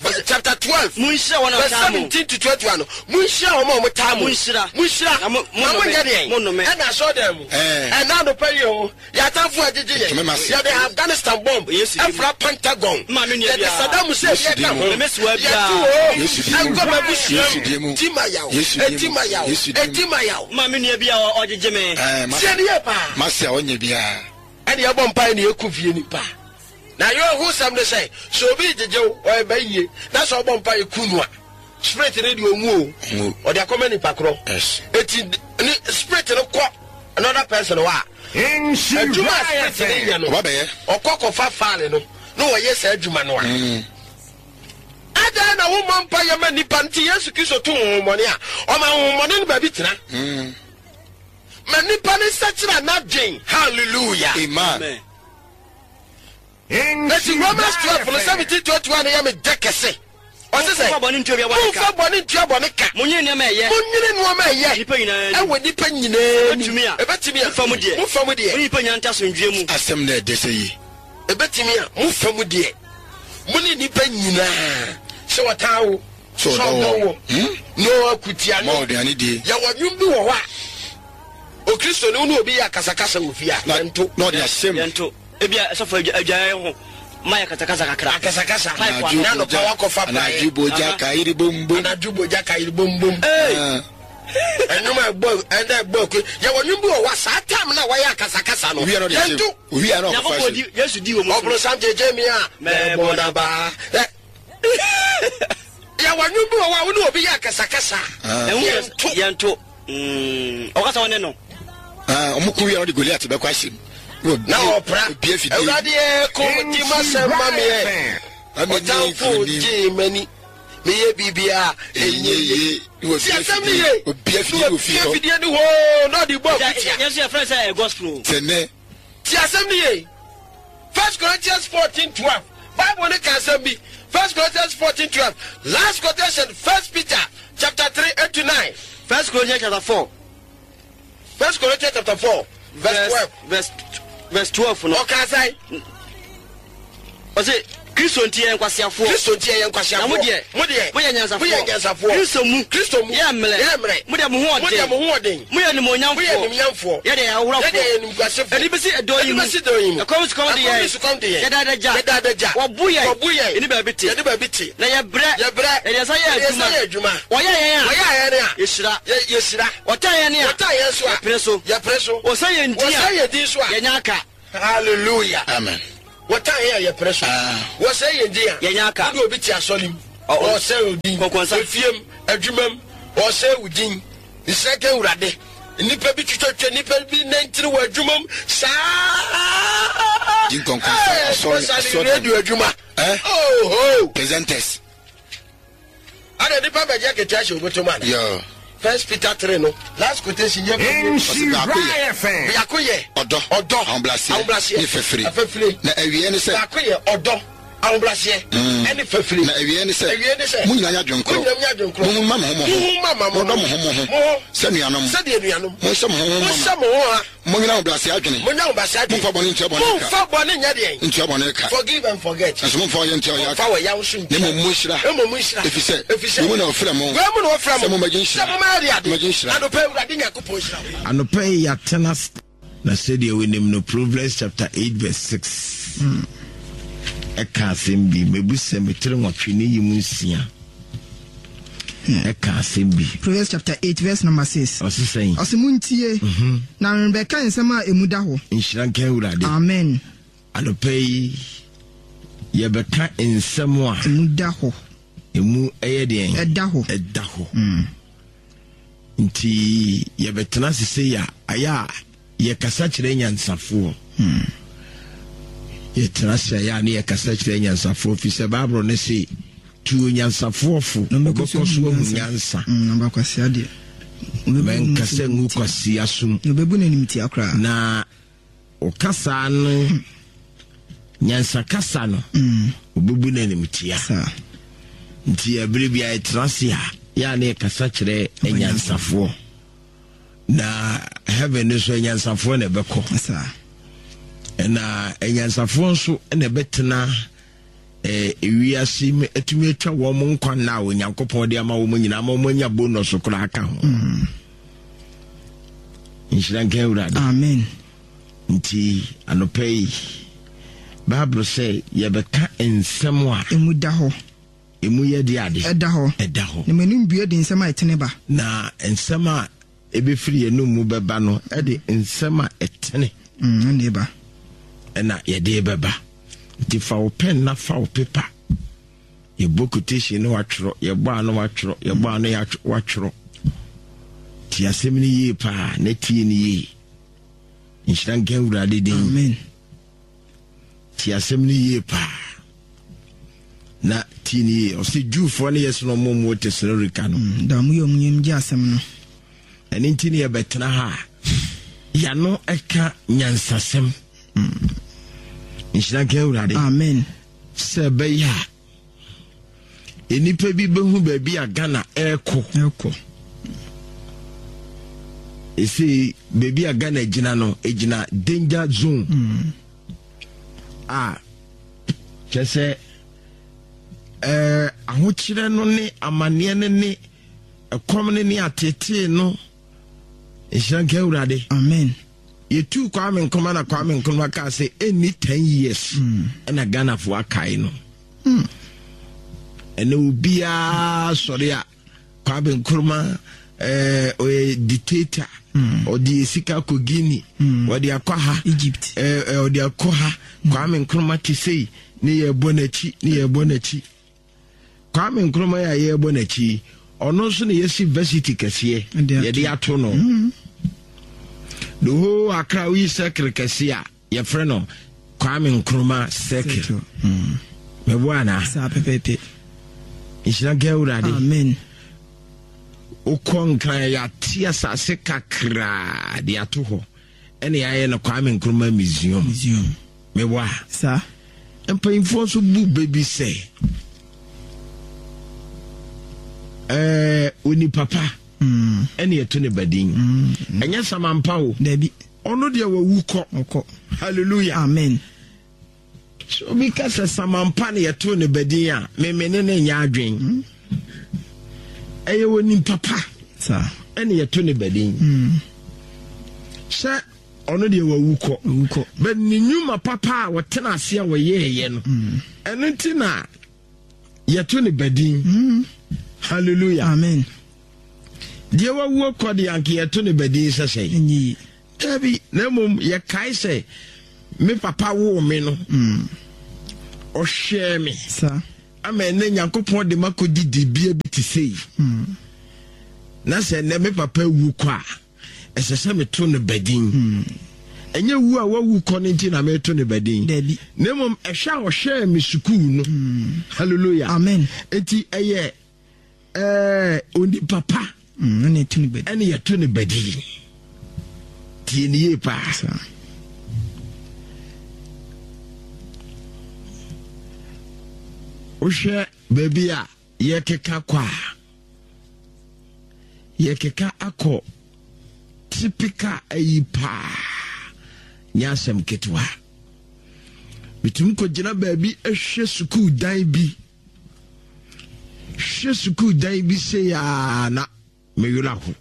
A: verse chapter 12.
C: Monhyira wɔn a
A: Verse
C: wɔtaa mo.
A: 17 to 21 no, monhyira wɔn a wɔtaa mo.
C: Monhyira.
A: Monhyira.
C: Na mo-
A: Na
C: monnome.
A: monyɛ deɛn?
C: Monnome.
A: Ɛna asɔredan mu.
B: Ɛɛ.
A: Ɛna anɔpa yi o. Yɛn atamfo agyegye yɛn.
B: Ntumi m'ase.
A: Yɛde Afghanistan bomb
C: Yesu din mu.
A: afra Pentagon.
C: Mma me nua
A: Yɛde
C: biara.
A: Saddam Hussein
B: Yesu
A: yɛ
B: din
A: ka
B: mu.
A: ho.
C: Me mesoa biara.
A: Yɛtu o.
B: Yesu din mu.
A: Ɛnkɔ m'abusua
B: Yesu
A: mu.
B: din mu.
A: Ti ma yaw.
B: Yesu din
A: Eti
B: mu.
A: ma yaw.
B: Yesu din mu.
A: Eti ma yaw.
C: Mma me nua biara a ɔgyegye me.
B: Ɛɛ, m'ase.
A: Tie ne yie paa.
B: M'ase a ɔnyɛ biara.
A: Ɛne yɛbɔ mpae ne yɛku fie nipa. Na awerɛhosɛm ne sɛ, sɛ obi regyegye wo, ɔyɛ ba yie, na sɛ ɔbɔ mpae ku no a, spirit no deɛ ɔnwu o.
B: Ɔnwu.
A: Ɔde akɔma nipa korɔ.
B: Yes.
A: Eti ne spirit no kɔ another person hɔ a, adwuma a spirit no yɛ no,
B: Ɔba bɛyɛ.
A: ɔkɔ kɔfa file no na ɔyɛ saa adwuma no a. Adɛn na wommɔ mpaeɛ ma nnipa? Nti Yesu Kristo tu honhommɔne a, ɔma honhommɔne no baabi tena. Ma nnipa no nsakyera n'adwen. Hallelujah.
B: Amen.
A: Eti Romans 12 no 17 21 no yɛ me dɛ kɛse. Ɔse sɛ,
C: Momfa bɔne ntua obiara bɔne ka.
A: Momfa bɔne ntua bɔne ka.
C: Monnwene nneɛma a ɛyɛ.
A: Monnwene nneɛma a ɛyɛ.
C: Nnipa nyinaa anim.
A: Ɛwɔ nnipa nyinaa anim.
C: Ɛbɛtumi a.
A: Ɛbɛtumi a.
C: Mo fa mu deɛ.
A: Mo fa mu deɛ.
C: Mo ne nnipa nyinaa nte asomdwoeɛ mu.
B: Asɛm na ɛdɛ sɛ yi.
A: Ɛbɛtumi a. Mo fa mu deɛ. Mo ne nnipa nyinaa. Sɛ wɔtaa wo.
B: Sɛ ɔdɔ wɔ.
A: No akutia no.
B: Ma ɔduane die.
A: Yɛwɔ nnwom bi wɔ hɔ a. Okristoni wo ne obi yɛ akasakasa wɔ fie a, yɛnto.
B: Na ɔde ahyɛ mu.
C: Yɛnto. Ebia sɔfo adwae ho ma yɛ kasakasa kakra.
A: Akasakasa.
C: Pipe ano.
A: Na anɔpa wakɔfa praeɛ.
B: Anadwo bogya kayiri bombom.
A: Anadwo bogya kayiri bombom. Ɛnwom a ɛbɔ ɛnna ɛbɔ aku. Yɛwɔ nnwom bi wɔ hɔ a saa time na wɔyɛ akasakasa no.
B: Owia na ɔde ahyɛ mu.
A: Yɛnto.
B: Owia na ɔkɔfa ahyɛ mu.
C: Yesu di wɔ mu.
A: Ɔbronsam gyegye mi a. Mɛbɔ n'aba. Yɛwɔ nnwom bi wɔ hɔ a wo ne obi yɛ akasakasa. Yɛnto.
C: Yɛnto. Ɔkasa wo ne no.
B: Ɔmo ko wie a ɔde Goliat bɛkɔ ahyɛ mu.
A: Na ɔpra. Awurade ɛ ko di m'asɛm ma me ɛ. Ɔtamfo gyee m'ani. Meyɛ biribiara ɛnyɛ yie. Ti asɛm no ye.
B: Obi afidie wɔ fie hɔ.
A: Obi afidie ni hɔ na ɔde bɔ akutia.
C: Yɛn nso yɛfrɛ sɛ gospel.
B: Sɛ nnɛ.
A: Ti asɛm no ye. First Corinthians 14 12. Bible no ka asɛm bi. First Corinthians 14 12. Last quotation First Peter chapter 3 8 to 9.
C: First Corinthians chapter 4.
A: First Corinthians chapter 4 verse 12.
C: Verse verse 12 no.
A: Ɔka sɛn?
C: Ɔse Kristo nti yɛyɛ nkwaseafoɔ.
A: Kristo nti yɛyɛ nkwaseafoɔ.
C: Na mo deɛ,
A: mo deɛ,
C: moyɛ nyansafoɔ.
A: Moyɛ nyansafoɔ.
C: Kristo mu,
A: Kristo mu,
C: yɛ mmerɛ.
A: Yɛ mmerɛ.
C: Mo deɛ mo ho ɔden.
A: Mo deɛ mo ho ɔden.
C: Moyɛ animuonyamfoɔ.
A: Moyɛ animuonyamfoɔ.
C: Yɛ deɛ yɛ ahohorɔfoɔ.
A: Yɛ deɛ yɛ animguasefoɔ.
C: Ɛde bɛsi ɛdɔn yi mu.
A: Ɛde bɛsi dɔn yi mu.
C: Ɛkɔm sukɔm de yɛn.
A: Ɛkɔm ne sukɔm de yɛn.
C: Yɛda adagya.
A: Yɛda adagya.
C: Wɔbo yɛn.
A: Wɔbo yɛn.
C: Yɛne baabi te.
A: Yɛne baabi te.
C: Na yɛbrɛ.
A: Yɛbrɛ.
C: Yɛde yɛn nsa yɛ
A: Yɛde yɛn nsa
C: adwuma.
A: yɛ adwuma.
C: Wɔyɛ yɛn a.
A: Wɔyɛ yɛn a.
C: Yɛhyira.
A: Yɛ yɛhyira.
C: Wɔtan yɛn a.
A: Wɔtan yɛn so a.
C: Yɛpere so.
A: Yɛpere so.
C: Wɔsɛe yɛn din a.
A: Wɔsɛe yɛn din so a.
C: Yɛnya aka.
A: Hallelujah.
B: Amen.
A: Wɔtan yɛn a yɛpere so. Wɔsɛe yɛn din a.
C: Yɛnyɛ aka.
A: Wode obi te asɔre mu. Ɔresɛe wo din.
C: Kɔnkɔnsa.
A: Efie mu, adwuma mu, ɔresɛe wo din. Nhyira nka Awurade. Nnipa bi twitwatwa nnipa bi nantiri wɔ adwuma mu saa.
B: Di nkɔnkɔnsa, asɔre,
A: Especially
B: asɔre.
A: radio adwuma.
B: Eh?
A: Oh ho.
B: Presenters.
A: Ada nipa bɛgye akatua hyɛ obotom ana?
B: Yeah.
A: First Peter 3 no last quotation yɛ
B: Ɔsi baako yɛ.
A: Biako yɛ.
B: Ɔdɔ.
A: Ɔdɔ.
B: Ahobrɛaseɛ.
A: Ahobrɛaseɛ.
B: Ne fafiri.
A: Fafiri.
B: Na awieɛ ne sɛ.
A: Baako yɛ ɔdɔ. Ahobrɛaseɛ. Ɛne fafiri.
B: Na awieɛ ne sɛ.
A: Awieɛ ne sɛ.
B: Mo nyinaa nyɛ adwene korɔ.
A: Mo nyinaa nyɛ adwene korɔ.
B: Monhu mma mo ho mo ho.
A: Monhu mma mo ho.
B: Monnɔ mo ho mo ho.
A: Mo ho.
B: Sɛ nuanom.
A: Sɛdeɛ nuanom.
B: Monhyɛ mo ho ho mama.
A: Monhyɛ mo ho ha.
B: Monnyina ahobrɛaseɛ adwene.
A: Monnya ahobrɛaseɛ adwene.
B: Momfa bɔne ntua bɔne ka.
A: Momfa bɔne nyɛ deɛn?
B: Ntua bɔne ka.
A: Forgive and forget.
B: Nanso momfa ɔyea ntua ɔyea ka.
A: Momfa ɔyaw nso ntua.
B: Na mmom monhyira.
A: Mmom monhyira.
B: Ɛfiri sɛ.
A: Ɛfiri sɛ.
B: Wei mu na wɔfrɛ mo.
A: Wei mu na wɔfrɛ mo.
B: Sɛ mommɛgye nhyira.
A: Sɛ mommɛyɛ deɛ ade.
B: Mommɛgye nhyira.
A: Anɔpa yi Awurade Nyankopɔn nhyira wo.
E: Anɔpa yi yɛatena ase. Na sɛdeɛ wonim no, Proverbs chapter 8 verse 6 ɛka asɛm bi, mebusɛm etire nwɔtwe ne yi mu nsia ɛka asɛm bi.
F: Proverbs chapter 8 verse number 6.
E: Ɔse sɛn?
F: Ɔse montie, na merebɛka nsɛm a emu da hɔ.
E: Nhyira nka Awurade.
F: Amen.
E: Anɔpa yi yɛbɛka nsɛm a
F: emu da hɔ.
E: Emu ɛyɛ deɛn?
F: Ɛda hɔ.
E: Ɛda hɔ. Nti yɛbɛtena ase sei a, ayɛ a yɛkasa kyerɛ nyansafoɔ. Yɛtena ase ayɛ a ne yɛkasa kyerɛ nyansafoɔ fi sɛ Bible no se tu onyansafoɔ fo ɔbɛkɔ so ahu nyansa. Mɛnkasa ngu kwasea som. Na Ɔkasa no, nyansakasa no, obebu no animtia. Nti ɛbere bi a yɛtena ase a, yɛ a na yɛkasa kyerɛ anyansafoɔ. Na heaven no nso anyansafoɔ na ɛbɛkɔ. Ɛna anyansafoɔ nso na ɛbɛtena eh, ewiase mu atumi atwa wɔn nkwa nna a Onyankopɔn de ama wɔn nyinaa ma wɔn anya bonus koraa ka ho. Nhyira nka Awurade.
F: Amen.
E: Nti anɔpa yi, Bible sɛ yɛbɛka nsɛm a.
F: Emu da hɔ.
E: Emu yɛ de ade.
F: Ɛda hɔ.
E: Ɛda hɔ.
F: Na m'anim bue de nsɛm a ɛtene ba.
E: Na nsɛm a ɛbɛfiri yɛn mu bɛba no ɛde nsɛm a ɛtene.
F: Ɛna ɛba.
E: Ɛna yɛde bɛba. Nti fa wo pɛn na fa wo pepa. Yɛbɔ quotation no watwerɛ, yɛbɔ ano watwerɛ, yɛbɔ ano watwerɛ. Ti asɛm no yie paa na tie no yie. Nhyira nka Awurade din.
F: Amen.
E: Ti asɛm no yie paa na tie no yie. Ɔsɛ Jewfoɔ no yɛ sɛ ɔmo mu Tesalonika no.
F: Da ɔmo yɛ ɔmo yam gye asɛm no.
E: Ɛno nti ne yɛbɛtena ha a yɛano ɛka nyansasɛm. Nhyira nka Awurade.
F: Amen.
E: Sɛ ɛbɛyɛ a nnipa bi bɛhu baabi a Ghana ɛrekɔ.
F: Ɛrekɔ.
E: Ɛsei baabi a Ghana gyina no ɛgyina danger zone. A kyerɛ sɛ ɛɛ ahokyerɛ no ne amanneɛ no ne ɛkɔm no ne atetee no. Nhyira nka Awurade.
F: Amen.
E: Yɛtuu Kwame Nkrumah na Kwame Nkrumah kaa sɛ ɛnni 10 years ɛna Ghanafoɔ akae no. Ɛnɛ obiara sɔre a Kwame Nkrumah ɔyɛ dictator. Ɔde yɛ sika kɔ Guinea, ɔde akɔ ha,
F: Egypt,
E: ɔde akɔ ha. Kwame Nkrumah te sei ne yɛbɔ n'akyi ne yɛbɔ n'akyi. Kwame Nkrumah yi a yɛrebɔ n'akyi yi, ɔno nso na yɛasi varsity kɛseɛ yɛde ato no. The whole Accra woyi circle kɛseɛ a yɛfrɛ no Kwame Nkrumah circle. Mɛboa anaa?
F: Saa pɛpɛɛpɛ.
E: Nhyira nka Awurade.
F: Amen.
E: Wokɔ Nkran yɛate asase kakraa de ato hɔ ɛna yɛayɛ no Kwame Nkrumah Museum.
F: Museum.
E: Mewɔ a.
F: Saa.
E: Mpanyinfoɔ nso bu bɛ bi sɛ ɛɛ onipa pa ɛna ɛto ne ba din. Ɛnyɛ samampa o.
F: Dabi.
E: Ɔno deɛ wawu kɔ.
F: Ɔkɔ.
E: Hallelujah.
F: Amen.
E: Sɛ obi ka sɛ samampa na yɛto ne ba din a, meme ne ne nyɛ adwen. Ɛyɛ onipa pa ɛna yɛto ne ba din. Sɛ ɔno deɛ wawu kɔ. But ne nnwuma papa a wɔtena ase a wɔyɛɛyɛ no, ɛno nti na yɛto ne badin. Hallelujah.
F: Amen.
E: Deɛ wawuo kɔ deɛ anka yɛto ne badin sɛ sɛn? Dabi, na mmom yɛkae sɛ Me papa woo me no, ɔhwɛɛ me ama ɛnɛ Nyankopɔn de makɔdi dibea bi te sei. Na sɛ ɛnɛ me papa wu kɔ a, ɛsɛ sɛ meto no badin. Ɛnyɛ wu a wawu kɔ no nti na meto no badin. Na mmom ɛhwɛ a ɔhwɛɛ me sukuu no. Hallelujah.
F: Amen.
E: Enti ɛyɛ ɛɛ onipa pa.
F: Ɛna yɛto no
E: badin. Ɛna yɛto no badin. Tie ne yie paa. Wohwɛ baabi a yɛkeka kɔ a, yɛkeka akɔ typical ayi paa nyɛ asɛm ketewa. Metumi kɔgyina baabi hwɛ sukuu dan bi hwɛ sukuu dan bi sei a na me werɛ aho.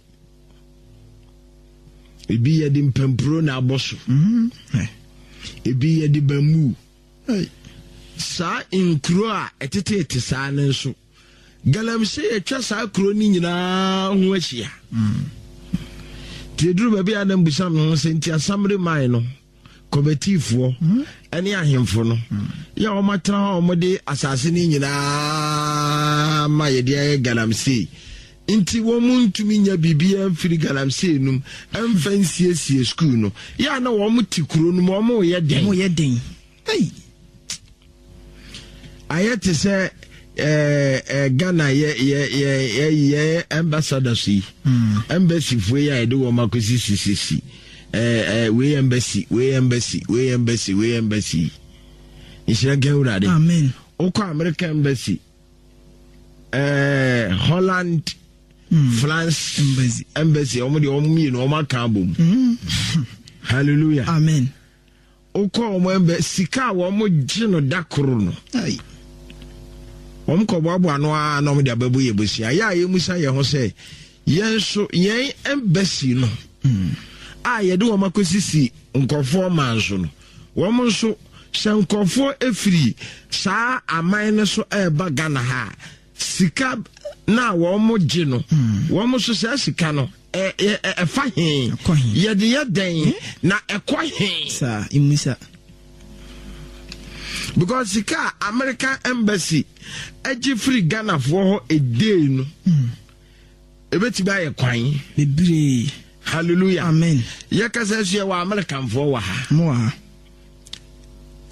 E: Ebi yɛde mpampuro na abɔ so. Mm-hmm. Ebi yɛde bamboo. Saa nkuro a ɛteteete saa no nso, galamsey atwa saa kuro no nyinaa ho ahyia. Mm. Nti eduru baabi a na mbusa me ho sɛ nti asamere man no kɔmɛtiifoɔ ne ahemfo no yɛ a wɔatena hɔ a wɔde asase no nyinaa ma yɛde ayɛ galamsey nti wɔn ntumi nya biribiara mfiri galamsey no mu mfa nsiesie sukuu no yɛ a na wɔn te kuro no mu wɔn yɛ den.
F: Wɔn yɛ den. Ei.
E: Ayɛ te sɛ ɛɛ ɛɛ Ghana yɛ yɛ yɛ yɛ yɛ ambassadors yi hmm. embassy foɔ yi a yɛde wɔn akɔsi sisisi ɛɛ ɛɛ wei embassy wei embassy wei embassy wei embassy nhyira nka Awurade.
F: Amen.
E: Wokɔ America embassy ɛɛ Holland. Mm. France
F: embassy
E: embassy wɔn deɛ wɔn mmienu wɔn aka abom. Mm. Hallelujah.
F: Amen.
E: Wokɔ wɔn ɛmbɛ sika a wɔn gye no da koro no. Wɔn kɔ boaboa ano ara na wɔn de abɛbɔ yɛ bosia. Yɛ a yɛmusa yɛn ho sɛ yɛn nso yɛn ɛmbɛsi no mm. a yɛde wɔn akɔsisi nkurɔfoɔ man so no wɔn nso sɛ nkurɔfoɔ efiri saa aman no so ɛreba Ghana ha Sika no a wɔgye no, hmm. wɔn nso saa sika no ɛfa he? Yɛde yɛ dɛn hmm? na ɛkɔ he?
F: Saa mmisa.
E: Because sika a American embassy agye firi Ghanafoɔ hɔ edee no, hmm. ebetumi ayɛ kwan.
F: Bebree.
E: Hallelujah.
F: Amen.
E: Yɛkasa so yɛ wɔ Americanfoɔ wɔ ha.
F: Mo wɔ ha.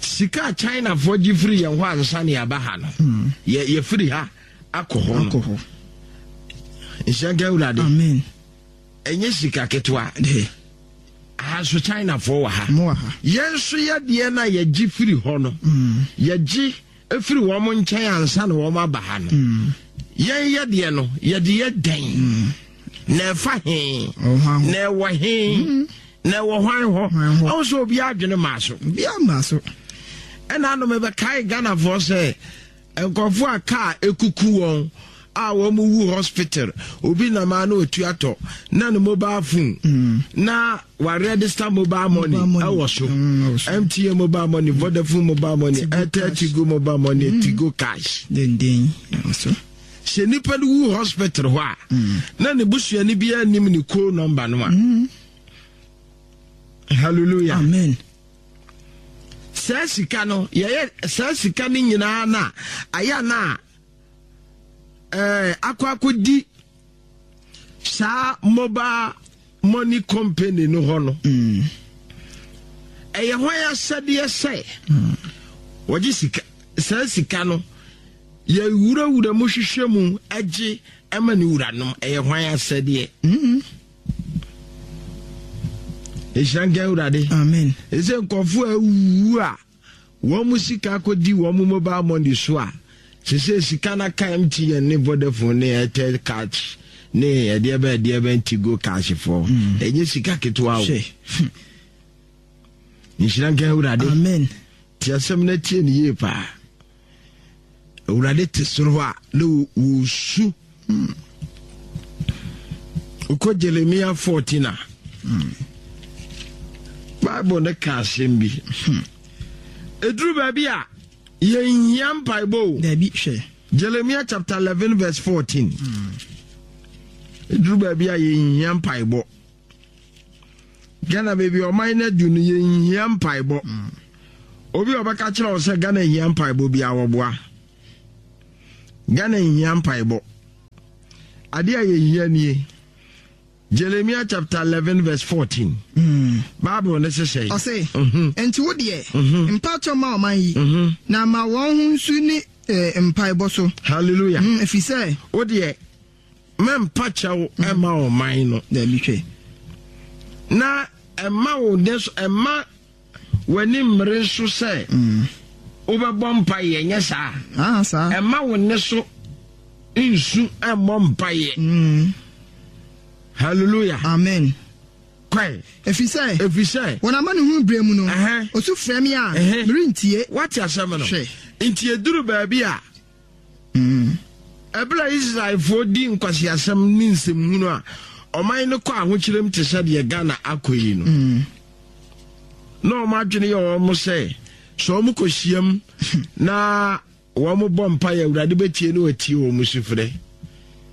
E: Sika a Chinafoɔ gye firi yɛn hɔ ansa ne yɛaba ha no, hmm. yɛ yɛfiri ha akɔ hɔ no. Nhyira nka Awurade.
F: Amen.
E: Ɛnyɛ sika ketewa. Aha nso Chinafoɔ wɔ ha. Yɛn nso yɛdeɛ no a yɛgye firi hɔ no, hmm. yɛgye firi wɔn nkyɛn ansa na wɔn aba ha no. Hmm. Yɛn yɛdeɛ no, yɛde yɛ dɛn? Na ɛfa he? Na ɛwɔ he? Na ɛwɔ hwan hɔ? Ɔho sɛ obiara adwene maa so.
F: Obiara maa so.
E: Ɛna ano mebɛkae Ghanafoɔ sɛ nkurɔfoɔ a kaa ekuku wɔn a wɔn wu hospital obi nam a na otu atɔ na ne mobile phone mm. na wa register mobile money ɛwɔ so MTN mm, mobile money Vodafone mobile money Airtel Tigo mobile money mm. Tigo cash.
F: Denden ɛwɔ so.
E: Sɛ nipa no wu hospital hɔ a na ne busuani biara nim ne call number no a. Hallelujah.
F: Amen.
E: Saa sika no yɛyɛ saa sika no nyinaa na ayɛ na ɛɛ akɔ akɔdi saa mobile money company no hɔ no. Mm. Ɛyɛ hwan asɛdeɛ sɛ mm. wɔgye sika saa sika no yɛwurawura mu hwehwɛ mu agye ɛma ne wuranom ɛyɛ hwan asɛdeɛ.
F: Mm.
E: Nhyira nka Awurade.
F: Amen.
E: Ɛsɛ nkurɔfoɔ a awuwu a wɔn mu sika akɔdi wɔn mu mobile money so a sese sika no aka MTN ne Vodafone ne Airtel cash ne ɛdeɛ bɛ ɛdeɛ bɛ Tigo cash foɔ. Mm. Ɛnyɛ sika ketewa o. Nhyira nka Awurade.
F: Amen.
E: Te asɛm no atie ne yie paa. Awurade te soro hɔ a na wɔsu. Hmm. Wokɔ Jeremia 14 a, hmm. Bible no ka asɛm bi. Hmm. Ɛduru baabi a yɛnhia mpaebɔ o.
F: Dabi hwɛ.
E: Jeremia chapter 11 verse 14. Ɛduru baabi a yɛnhia mpaebɔ. Ghana baabi ɔman no adu no yɛnhia mpaebɔ. Obi a ɔbɛka kyerɛ wo sɛ Ghana hia mpaebɔ biara wɔboa. Ghana nhia mpaebɔ. Adeɛ a yɛhia nie. Jeremiah chapter 11 verse 14. Bible ne sesɛ.
F: Ɔse, Enti wo deɛ, mpakyɛw ma ɔman yi, na ma wɔn ho nsu ne eh, mpaebɔ so.
E: Hallelujah.
F: Ɛfiri sɛ.
E: Wo deɛ, mɛmpa kyɛw ɛma ɔman no.
F: Dabi hwɛ.
E: Na ɛma wo ne so, ɛma w'ani mmere nso sɛ wobɛbɔ mpaeɛ, nyɛ saa.
F: Ah, saa.
E: Ɛma wo ne so nsu mmɔ mpaeɛ. Hallelujah.
F: Amen.
E: Kwae.
F: Ɛfiri sɛ.
E: Ɛfiri sɛ.
F: Wɔn amanehunu berɛ mu no. Ɔsu frɛ me a, merentie.
E: Woate asɛm no?
F: Hwɛ.
E: Nti ɛduru baabi a, ɛberɛ a Israelfoɔ di nkwaseasɛm ne nsɛmhunu a, ɔman no kɔ ahokyerɛm te sɛ deɛ Ghana akɔ yi no. Na wɔn adwene yɛ wɔn sɛ, sɛ wɔn kɔhyiam na wɔn bɔ mpaeɛ Awurade bɛtie ne watie wɔn sufrɛ.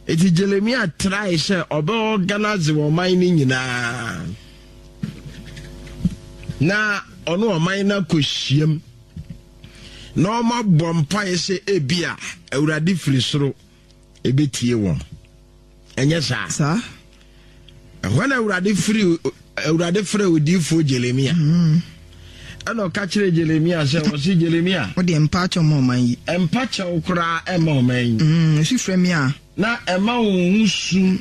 E: Eti Jeremia trae sɛ ɔbɛ organize ɔman no nyinaa na ɔne ɔman no akɔhyiam na wɔabɔ mpaeɛ sɛ ebia Awurade firi soro ɛbɛtie wɔn. Ɛnyɛ saa?
F: Saa.
E: Ɛhɔ na Awurade firi Awurade frɛ odiyifoɔ Jeremia. Ɛna ɔka kyerɛ Jeremia sɛ ɔse Jeremia.
F: Wo deɛ mpa kyɛw ma ɔman yi.
E: Mpa kyɛw koraa ɛma ɔman yi.
F: Esu frɛ me a.
E: Na ɛma wɔn ho su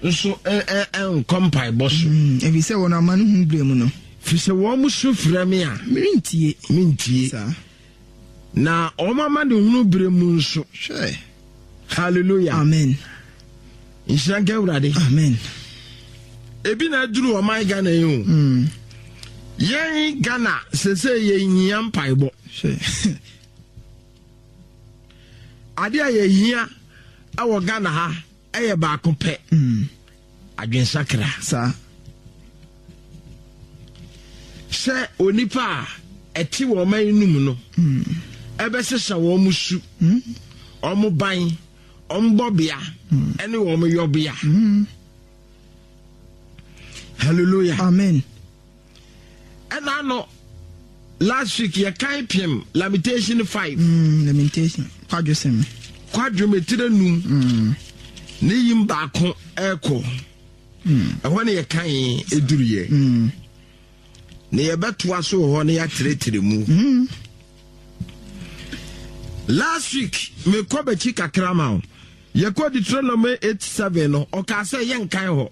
E: nso nkɔ mpaebɔ so.
F: Ɛfiri sɛ wɔn amanehunu berɛ mu no.
E: Firi sɛ wɔn su frɛ me a.
F: Merentie.
E: Mentie.
F: Saa.
E: Na wɔn amanehunu berɛ mu nso.
F: Hwɛ.
E: Hallelujah.
F: Amen.
E: Nhyira nka Awurade.
F: Amen.
E: Ebi na aduru ɔman Ghana yi o. Yɛn Ghana sese yɛhia mpaebɔ. Ade a yɛhia ɛwɔ Ghana ha ɛyɛ baako pɛ. Adwensakra.
F: Saa.
E: Sɛ onipa a ɛte wɔn ɔman no mu no ɛbɛsesa wɔn su, wɔn ban, wɔn bɔbea ɛne wɔn yɔbea. Hallelujah.
F: Amen.
E: Ɛna ano last week yɛ kan pem Lamentation 5.
F: Lamentation kwadwo sɛm.
E: Kwadwo metire num. Ne yim baako ɛkɔ. Ɛhɔ ne yɛ kan eduru yɛ. Ne yɛbɛtoa so wɔ hɔ ne yɛatrɛtrɛ mu. Last week mekɔ bɛkyi kakra ma wo. Yɛkɔ Deuteronomy 8 7 no ɔkaa sɛ yɛnkan hɔ.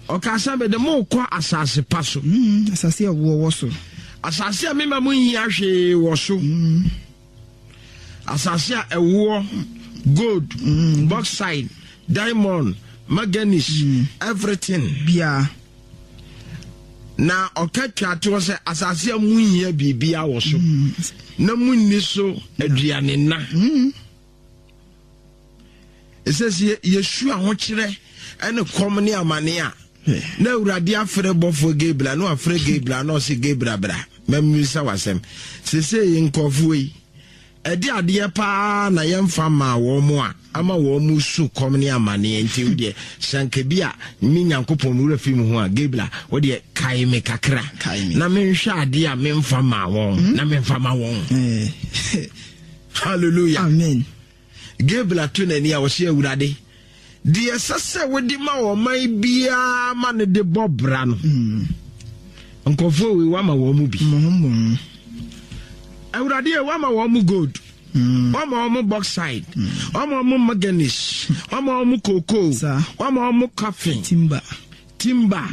E: Ɔkaa sɛ mede mo rekɔ asase pa so.
F: Asase a ɛwoɔ wɔ so.
E: Asase a mema mo nhia hwee wɔ so. Asase a ɛwoɔ, gold, bauxite, diamond, manganese, everything.
F: Biara.
E: Na ɔka twa toɔ sɛ asase a monhia biribiara wɔ so. Na monni so aduane nna. Ɛsɛ sɛ yɛsu ahokyerɛ ne kɔm ne amane a na Awurade afrɛ bɔfoɔ Gabriel na wafrɛ Gabriel na ɔse Gabriel bra mammisa w'asɛm. Sesei nkurɔfoɔ yi ɛde adeɛ paa na yɛmfa maa wɔn mo a ama wɔn mu su kɔm ne amaneɛ nti wo deɛ sɛ anka bi a me Nyankopɔn me wura fi mu ho a Gabriel wo deɛ kae me kakra na menhwɛ adeɛ a memfa maa wɔn na memfa ma wɔn. Hallelujah.
F: Amen.
E: Gabriel ato n'ani a ɔsɛ Awurade, deɛ ɛsɛ sɛ wode ma ɔman biara ma no de bɔ bra no. Nkurɔfoɔ wei wama wɔn mu bi. Awurade yɛ wama wɔn mu gold. Wama wɔn mu bauxite. Wama wɔn mu manganese. Wama wɔn mu cocoa. Wama wɔn mu coffee.
F: Timber.
E: Timber.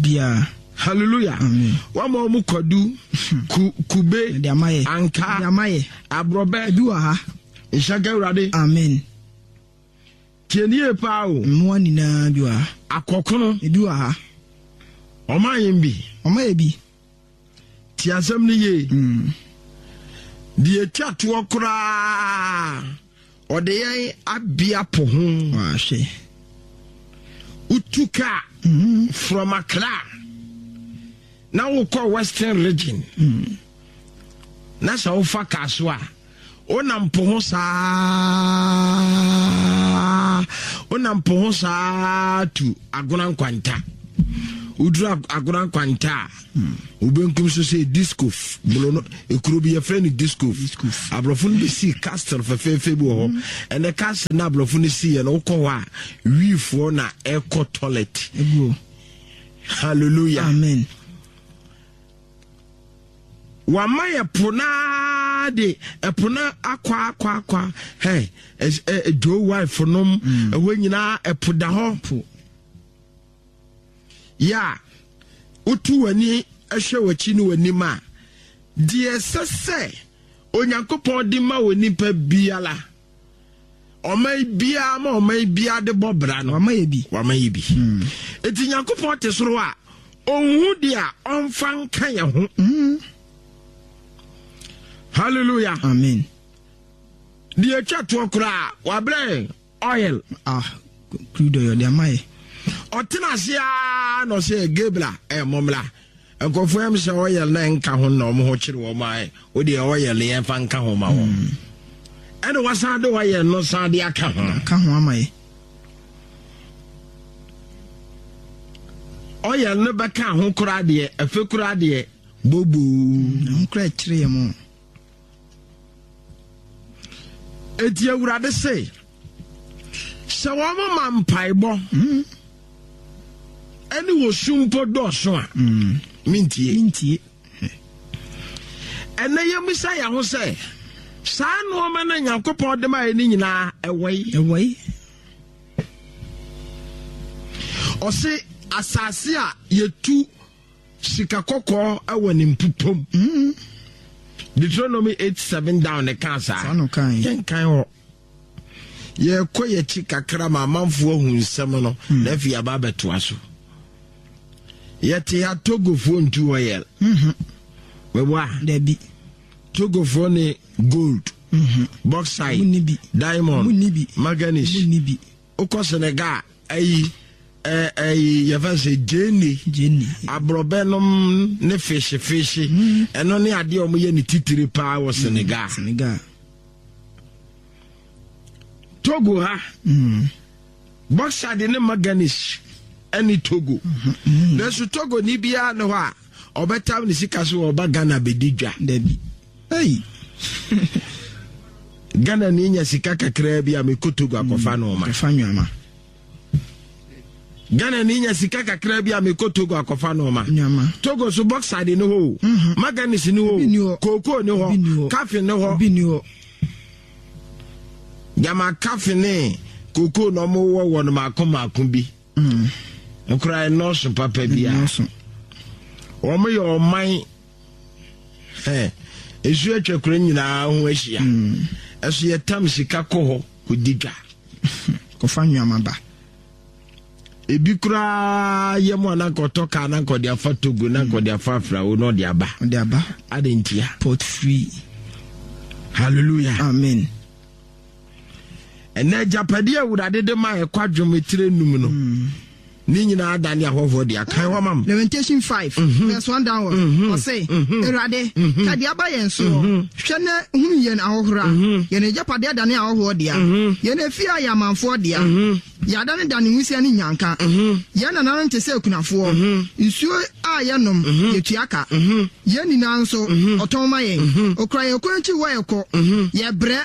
F: Bia.
E: Hallelujah.
F: Amen.
E: Wama wɔn kwadu, ku, kube, anka, aborɔbɛ.
F: Ebi wɔ ha.
E: Nhyɛ nka Awurade.
F: Amen.
E: Tie ne yie paa o.
F: Mmoa nyinaa bi wɔ ha.
E: Akɔkono.
F: Ebi wɔ ha.
E: Ɔma yɛn bi.
F: Ɔma yɛ bi.
E: Tie asɛm no yie. Deɛ etwa toɔ koraa. Ɔde yɛn abea po ho.
F: Wahwɛ.
E: Wotu kaa from Accra na wokɔ Western Region. Na sɛ wofa kaa so a, wonam po ho saa, wonam po ho saa tu Agona Nkwanta. Woduru Agona Nkwanta a, wobenkum so sɛ Discof bolo no, ekuro bi yɛfrɛ no Discof. Aborɔfo no bɛsii castle fɛfɛɛfɛ bi wɔ hɔ. Mm. Ɛnɛ castle na aborɔfo no siiɛ no, wokɔ hɔ a, wiifoɔ na ɛkɔ toilet. Hallelujah.
F: Amen.
E: Wama yɛ po no ara de ɛpo no akɔ akɔ akɔ hɛ ɛ Joe wife nom mm. ɛhɔ nyinaa ɛpo da hɔ. Yɛ a wotu w'ani hwɛ w'akyi ne w'anim a, deɛ ɛsɛ sɛ Onyankopɔn de ma wɔ nipa biara, ɔman biara ma ɔman biara de bɔ bra no,
F: wama yɛ bi.
E: Wama yɛ bi. Hmm. Eti Nyankopɔn te soro a, ɔnhu deɛ a ɔmfa nka yɛn ho. Hmm. Hallelujah.
F: Amen.
E: Deɛ atwa toɔ koraa, wabrɛ Oil.
F: Ah, crude oil de ama yɛ.
E: Ɔtena ase ara na ɔsɛ Gabriel ɛ mɔmla. Nkurɔfoɔ yam sɛ oil na nka ho na wɔn ho kyere wɔn a o deɛ oil no yɛmfa nka ho ma wɔn. Hmm. Ɛna wasan de oil no san de aka ho.
F: Aka ho ama yɛ.
E: Oil no bɛka ho koraa deɛ ɛfɛ koraa deɛ bobo.
F: Hmm, ho koraa kyerɛ yɛ mo.
E: Enti Awurade se, sɛ wɔn ma mpaebɔ mm. ɛne wɔ su mpo dɔɔso a mm. mentie.
F: Mentie.
E: Ɛnɛ yɛmmisa yɛn ho sɛ saa nneɛma no Nyankopɔn de ma yɛ no nyinaa ɛwɔ yi.
F: Ɛwɔ yi.
E: Ɔse asase a yɛtu Sika kɔkɔɔ wɔ ne mpupom. Mm. Deuteronomy 8 7 down ne kaa saa. Yɛnkan hɔ. Yɛkɔ yɛkyi kakra ma amanfoɔ ahu nsɛm no mm. na afei aba abɛtoa so. Yɛte ha Togofoɔ ntu hɔ yɛ.
F: Mm-hmm.
E: Meboa.
F: Dabi.
E: Togofoɔ ne gold, mm-hmm. bauxite, diamond, manganese. Wokɔ Senegal a, ayi ɛyi yɛfɛ sɛ gyeene, aborɔbɛ nom ne fehye fehye mm. ɛno ne adeɛ a wɔyɛ ne titire paa wɔ Senegal.
F: Senegal.
E: Togo ha mm. bauxite ne manganese ɛne Togo. Mm-hmm. Nanso Togo ni biara ne hɔ a ɔbɛtam ne sika so ɔba Ghana bɛdi dwa.
F: Dabi.
E: Ei! Ghana ni nya sika kakraa bi a mekɔ Togo akɔfa mm, nneɛma.
F: Akɔfa nneɛma.
E: Ghana ni nya sika kakraa bi a mekɔ Togo akɔfa nneɛma.
F: Nneɛma.
E: Togo so bauxite ne hɔ o. Mhm. Manganese ne hɔ o. Kookoo ne hɔ. Kafe ne hɔ.
F: Bi ni hɔ.
E: Gyama kafe ne kookoo na ɔmo wɔ wɔ no maako maako bi.
F: Mm.
E: Nkora ɛnɔɔso papa bi a. Wɔn yɛ ɔman Ɛ, nsuo atwa kuro nyinaa ho ahyia. Mm. Ɛso yɛtam sika kɔ hɔ kɔdi dwa.
F: Kɔfa nneɛma ba.
E: Ebi koraa yɛ mu a na nka ɔtɔ kaa na nka ɔde afa Togo na nka ɔde afa Afrawo na ɔde aba.
F: Ɔde aba.
E: Ade ntia.
F: Port free.
E: Hallelujah.
F: Amen.
E: Ɛnɛ agyapadeɛ Awurade de ma ɛkɔ adwom etire num no. Mm. Ne nyinaa adane ahɔhoɔ dea. Kan hɔ ma me.
F: Lamentation 5 mhm. verse 1 downward. Mhm. Ɔse, mhm. Awurade, ka deɛ aba yɛn soɔ. Hwɛ na hunu yɛn ahohora. Yɛn agyapadeɛ adane ahɔhoɔ dea. Yɛn afie ayɛ amanfoɔ dea. Yɛadanedane nwisiaa ne nnyanka. Yɛn nananom te sɛ akunafoɔ. Nsuo a yɛnom, yɛtua ka. Yɛn nyinaa nso, ɔtɔn ma yɛn. Ɔkura yɛn kɔn akyi wɔ ɛkɔ. Yɛbrɛ.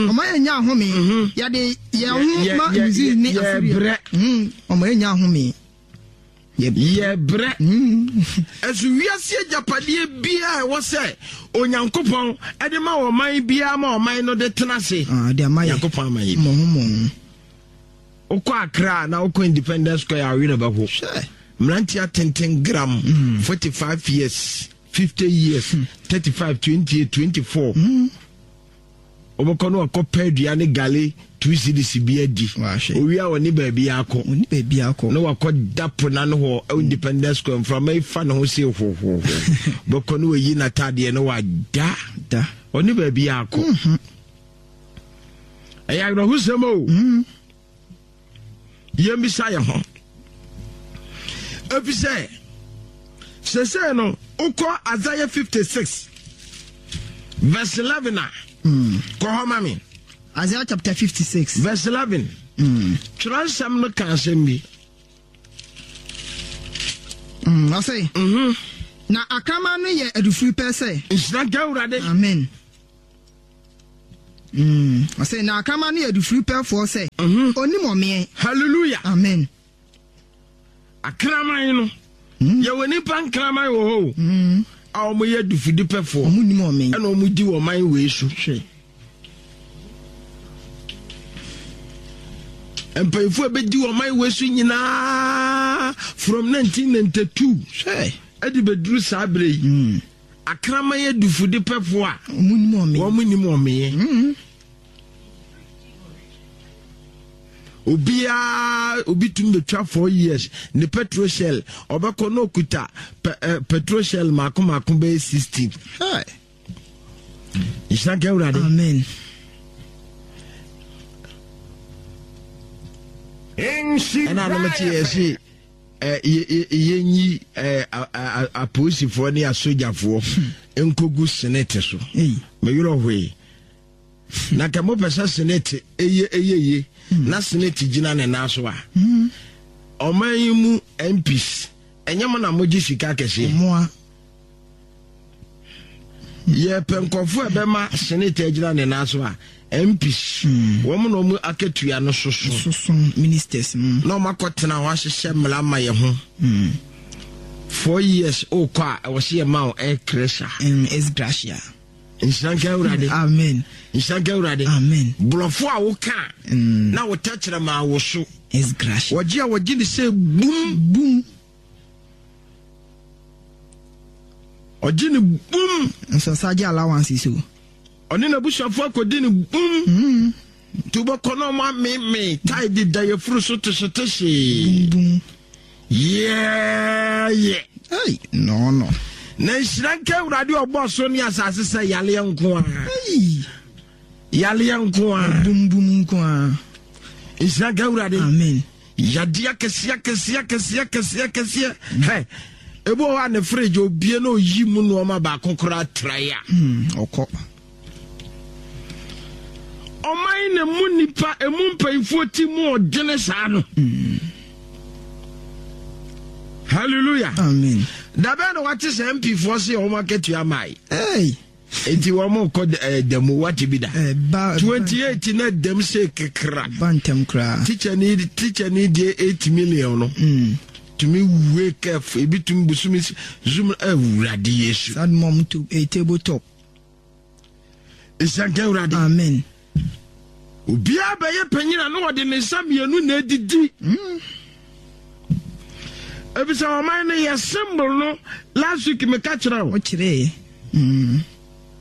F: Ɔma yɛnya ahome. Yɛde yɛn ho ma Misraim ne Asiria. Ɔma yɛnya ahome.
E: Yɛbrɛ. Ɛso wiase agyapadeɛ biara ɛwɔ sɛ Onyankopɔn de ma ɔman biara ma ɔman no de tena ase.
F: Ah, de ama yɛ.
E: Nyankopɔn ama yɛ bi. Wokɔ Accra na wokɔ Independence Square a werɛ bɛho.
F: Hwɛ.
E: Mmeranteɛ atenten gram mm. 45 years, 50 years, 35, 28, 24. Mm. Wɔbɛkɔ no wakɔpɛ adua ne gale two cedis bi adi. Owie a ɔne baabi akɔ.
F: Ɔne baabi akɔ.
E: Na wakɔ da po n'ano hɔ ɛwɔ Independence Square mframa yi fa ne ho se hohoho. Bɛkɔ no wayi n'ataadeɛ na wada.
F: Da.
E: Ɔne baabi akɔ.
F: Mhm.
E: Ɛyɛ awerɛhosɛm o.
F: Mm.
E: Yɛmmisa yɛn ho. Efisɛ sesei no wokɔ Isaiah 56 verse 11 a
F: mm.
E: kɔ hɔ ma me.
F: Isaiah chapter 56
E: verse 11.
F: Mm.
E: Twerɛ nsɛm no ka asɛm bi.
F: Ɔse, Na akraman no yɛ adufiri pɛ sɛ.
E: Nhyira nka Awurade.
F: Amen. Ɔse, na akraman no yɛ adufiri pɛfoɔ sɛ. Onim ɔmeɛ.
E: Hallelujah.
F: Amen.
E: Akraman no. Yɛwɔ nipa nkraman wɔ hɔ o. A wɔn yɛ adufudi pɛfoɔ.
F: Wɔn nim ɔmeɛ.
E: Ɛna wɔn di wɔn man wei so. Hwɛ. Mpanyinfoɔ a bɛdi wɔn man wei so nyinaa from 1992.
F: Hwɛ.
E: Ɛde bɛduru saa berɛ yi. Akraman adufudi pɛfoɔ a.
F: Wɔn
E: nim ɔmeɛ. Obiara obi tumi betwa 4 years ne petrol shell, ɔbɛkɔ na okuta petrol shell mako mako bɛyɛ 16. Nhyira nka Awurade.
F: Amen.
E: Ɛna anam te yɛ se yɛnyi apolisifoɔ ne asogyafoɔ nkɔgu senate so. Meyerɛ hwee na nka mopɛ sɛ senate ɛyɛ ɛyɛ ye na senate gyina ne nan so a, ɔman yi mu MPs, ɛnyɛ mo na mogye sika kɛseɛ. Yɛpɛ nkɔfoɔ a ɛbɛma senate agyina ne nan so a, MPs, wɔn na wɔn akatua no soso.
F: Soso ministers no.
E: Na wɔn akɔtena hɔ ahyehyɛ mmara ma yɛ ho. 4 years okɔ a, ɛwɔ sɛ yɛma wo ex gratia.
F: Ex gratia.
E: Nhyira nka Awurade.
F: Amen.
E: Nhyira nka Awurade.
F: Amen.
E: Borɔfo a woka na wo tɛkyerɛma wo so.
F: Ex gratia.
E: Wɔgye a wɔgye ne sɛ bum.
F: Bum.
E: Ɔgye ne bum.
F: Nso ɔsa gye allowance so.
E: Ɔne n'abusuafo akɔdi ne bum. Nti wobɛkɔ na ɔmo ameme tae de da yɛfuru so tehyetehyee.
F: Bum bum.
E: Yɛɛyɛ.
F: Hey, no no.
E: Na nhyira nka Awurade ɔbɔ so ne asase sɛ yaleɛ nko a.
F: Hey.
E: Yaleɛ nko a.
F: Bum bum nko a.
E: Nhyira nka Awurade.
F: Amen.
E: Yadeɛ akɛseɛ akɛseɛ akɛseɛ akɛseɛ akɛseɛ. Hɛ. Ebi wɔ hɔ a ne fridge obie na oyi mu nneɛma baako koraa trae a.
F: Ɔkɔ.
E: Ɔman na mu nipa emu mpanyinfoɔ ti mu ɔdwene saa no. Hallelujah.
F: Amen.
E: Dabɛn na wate sɛ MP foɔ se wɔn akatua mae?
F: Hey.
E: Enti wɔn kɔ damu wate bi da?
F: Ba
E: 28 na dam se kekra.
F: Ba ntɛm koraa.
E: Teacher ni deɛ 8 million no. Tumi wake up ebi tumi busumi zoom Awurade Yesu.
F: Sad mom to a table top.
E: Nhyira nka Awurade.
F: Amen.
E: Obiara bɛyɛ panyin a na ɔde ne nsa mmienu na edidi. Ebisa ɔman no yɛ symbol no, last week meka kyerɛ wo.
F: Ɔkyerɛ.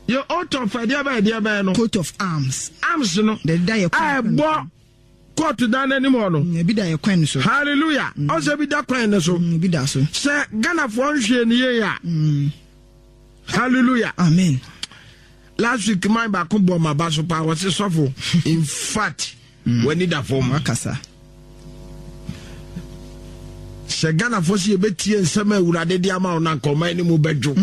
E: Yɛ oath of ɛdeɛ bɛyɛ ɛdeɛ bɛyɛ no.
F: Coat of arms.
E: Arms no.
F: Deda yɛ
E: kwan. A ɛbɔ court dan n'anim hɔ no.
F: Ebi da yɛ kwan so.
E: Hallelujah. Ɔsɛ ebi da kwan no so.
F: Ebi da so.
E: Sɛ Ghanafoɔ nhwɛ ne yie a. Hallelujah.
F: Amen.
E: Last week man baako bɔ ma ba so paa, wɔse sɔfo, in fact, w'ani da fam.
F: Wakasa.
E: Sɛ Ghanafoɔ sɛ yɛbɛtie nsɛm a Awurade de ama wo no, anka ɔman no mu bɛdwo.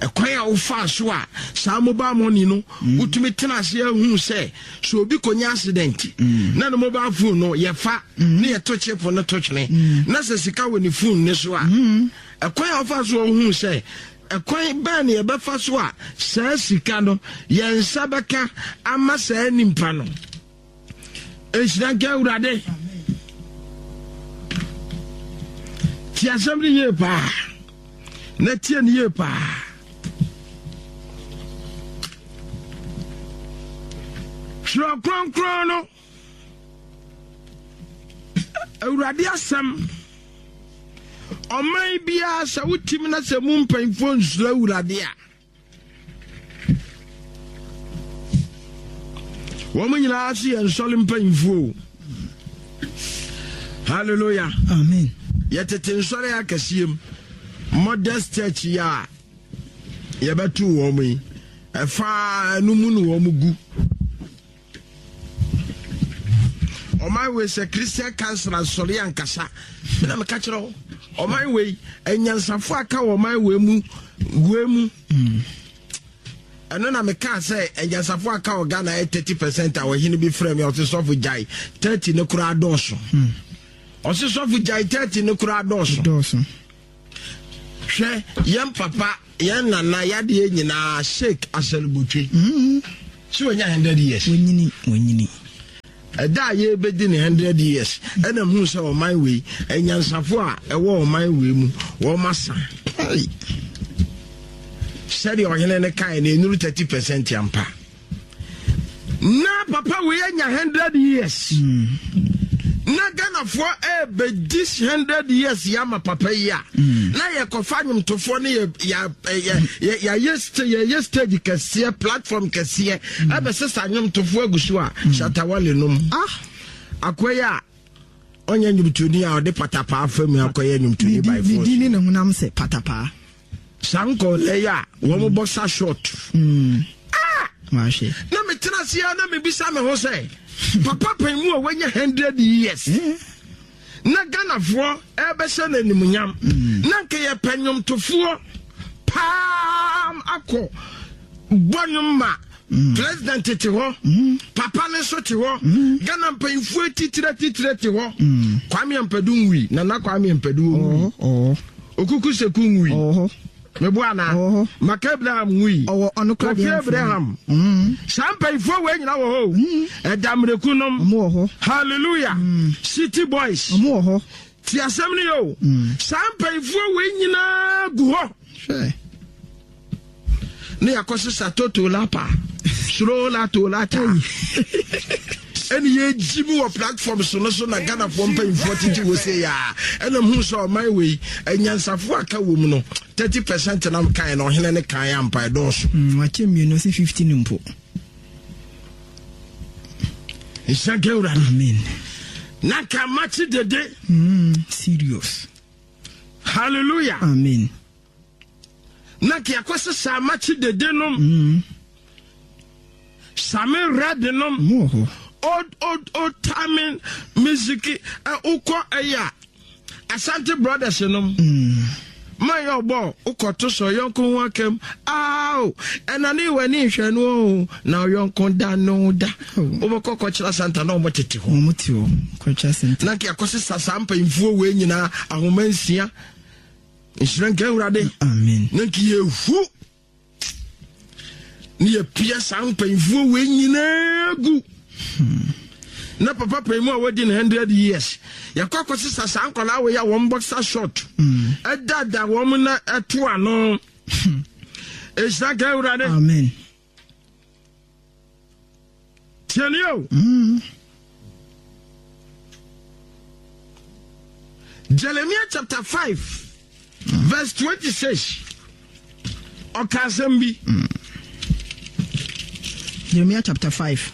E: Ɛkwan a wofaa so a saa mobile money no wotumi tena ase ahu sɛ sɛ obi kɔnya accident na ne mobile phone no yɛfa ne yɛto chip no to twene na sɛ sika wɔ ne phone ne so a, ɛkwan a wofa so a wohu sɛ ɛkwan bɛn ne yɛbɛfa so a saa sika no yɛn nsa bɛka ama saa nipa no. Nhyira nka Awurade. Tie asɛm no yie paa na tie no yie paa. Twerɛ Kronkron no, Awurade asɛm. Ɔman biara sɛ wotim na sɛ mu mpanyimfoɔ nsuro Awurade a, wɔn nyinaa so yɛ nsɔre mpanyimfoɔ o. Hallelujah.
F: Amen.
E: Yɛtete nsɔre akɛseɛ mu. Modest church yi a yɛbɛto wɔn yi, ɛfa no mu no wɔn gu. Ɔman wei sɛ Christian Council asɔre ankasa na meka kyerɛ wo, ɔman wei anyansafo aka wɔ ɔman wei mu wei mu. Ɛno na mekaa sɛ anyansafo aka wɔ Ghana yɛ 30%, a ɔhene bi frɛ me, ɔte sɔfo gyae 30 no koraa dɔɔso. Ɔse sɔfo gyae 30 no koraa dɔɔso.
F: Dɔɔso.
E: Hwɛ yɛn papa yɛn nana yadeɛ nyinaa Sheik Asalubotwe.
F: Mm.
E: Sɛ wanya 100 years.
F: Wanyini wanyini.
E: Ɛda a yɛrebɛdi ne 100 years ɛna muhu sɛ ɔman wei anyansafo a ɛwɔ ɔman wei mu wɔn asa. Sɛdeɛ ɔhene no kae no ɛnuru 30 percent ampa. Na papa wei anya 100 years.
F: Mm.
E: Na Ghanafoɔ ɛrebɛdi 100 years yɛ ama papa yi a.
F: Mm.
E: Na yɛkɔfa nnwomtofoɔ ne yɛyɛ stage kɛseɛ platform kɛseɛ
F: mm.
E: ɛbɛsesa nnwomtofoɔ agu so a Shatta Wale nom.
F: Ah.
E: Akoa yi a ɔnyɛ nnwomtoni a ɔde patapaa fa mu akɔyɛ nnwomtoni by force.
F: Ne din ne ne honam sɛ patapaa.
E: Saa nkɔlɛ yi a wɔn mm. boxer short.
F: Mm.
E: Ah! Na metena ase a na mebisa me ho sɛ papa pɛn mu a wanya hundred years.
F: Eh?
E: Na Ghanafoɔ ɛbɛhyɛ no animuonyam.
F: Mm.
E: Na nka yɛpɛ nnwomtofoɔ paa akɔ bɔ nnwom ma
F: Mm.
E: President te hɔ, papa no nso te hɔ, Ghana mpanyinfoɔ atitire atitire te hɔ. Kwame Ampadu nwui, Nana Kwame Ampadu nwui.
F: Oh, oh.
E: Okuku Seku nwui.
F: Oh.
E: Mebo ana?
F: Oh.
E: Maka Abraham nwui.
F: Ɔwɔ ɔno kora
E: Kofi
F: deɛ
E: Abraham.
F: Mm.
E: Saa mpanyinfoɔ wei nyina wɔ hɔ o. Ɛda mmireku nom.
F: Ɔmo wɔ hɔ.
E: Hallelujah. City boys.
F: Ɔmo wɔ hɔ.
E: Ti asɛm no yɛ o. Saa mpanyinfoɔ wei nyinaa gu hɔ.
F: Hwɛ.
E: Ne yɛakɔsesa toto lapa soro la to lata ɛne yɛgyi mu wɔ platform so no so na Ghanafoɔ mpanyimfoɔ tete wɔ se yɛ a ɛna hu sɛ ɔman wei anyansafoɔ aka wɔ mu no 30 percent nam kan na ɔhene ne kan ampa ɛdɔɔso.
F: Wakyɛ mmienu sɛ 15 mpo.
E: Nhyira nka Awurade.
F: Amen.
E: Na nka makye dede.
F: Serious.
E: Hallelujah.
F: Amen.
E: Na nka yɛakɔsesa amakye dede nom. Same red nom.
F: Ɔmo wɔ hɔ.
E: Old old old timing music ɛ wokɔ ɛyɛ a Asante brothers nom. Man yɛ ɔbɔ wokɔto sɛ ɔyɔnko ho akam ao ɛna ne w'ani nhwɛ no o na ɔyɔnko da no da wobɛkɔ kɔkyerɛ Santa na ɔmo tete hɔ.
F: Ɔmo te hɔ kɔkyerɛ Santa.
E: Na nka yɛakɔsesa saa mpanyinfoɔ wei nyinaa ahoma nsia. Nhyira nka Awurade.
F: Amen.
E: Na nka yɛhu ne yɛpia saa mpanyinfoɔ wei nyinaa gu. Na papa panyin mu a wadi ne hundred years yɛkɔ akɔsesa saa nkwadaa wei a wɔn boxer short ɛdada wɔn na ɛto ano. Nhyira nka Awurade.
F: Amen.
E: Tiɛni o. Jeremiah chapter 5 verse 26 ɔka asɛm bi.
F: Jeremiah chapter 5.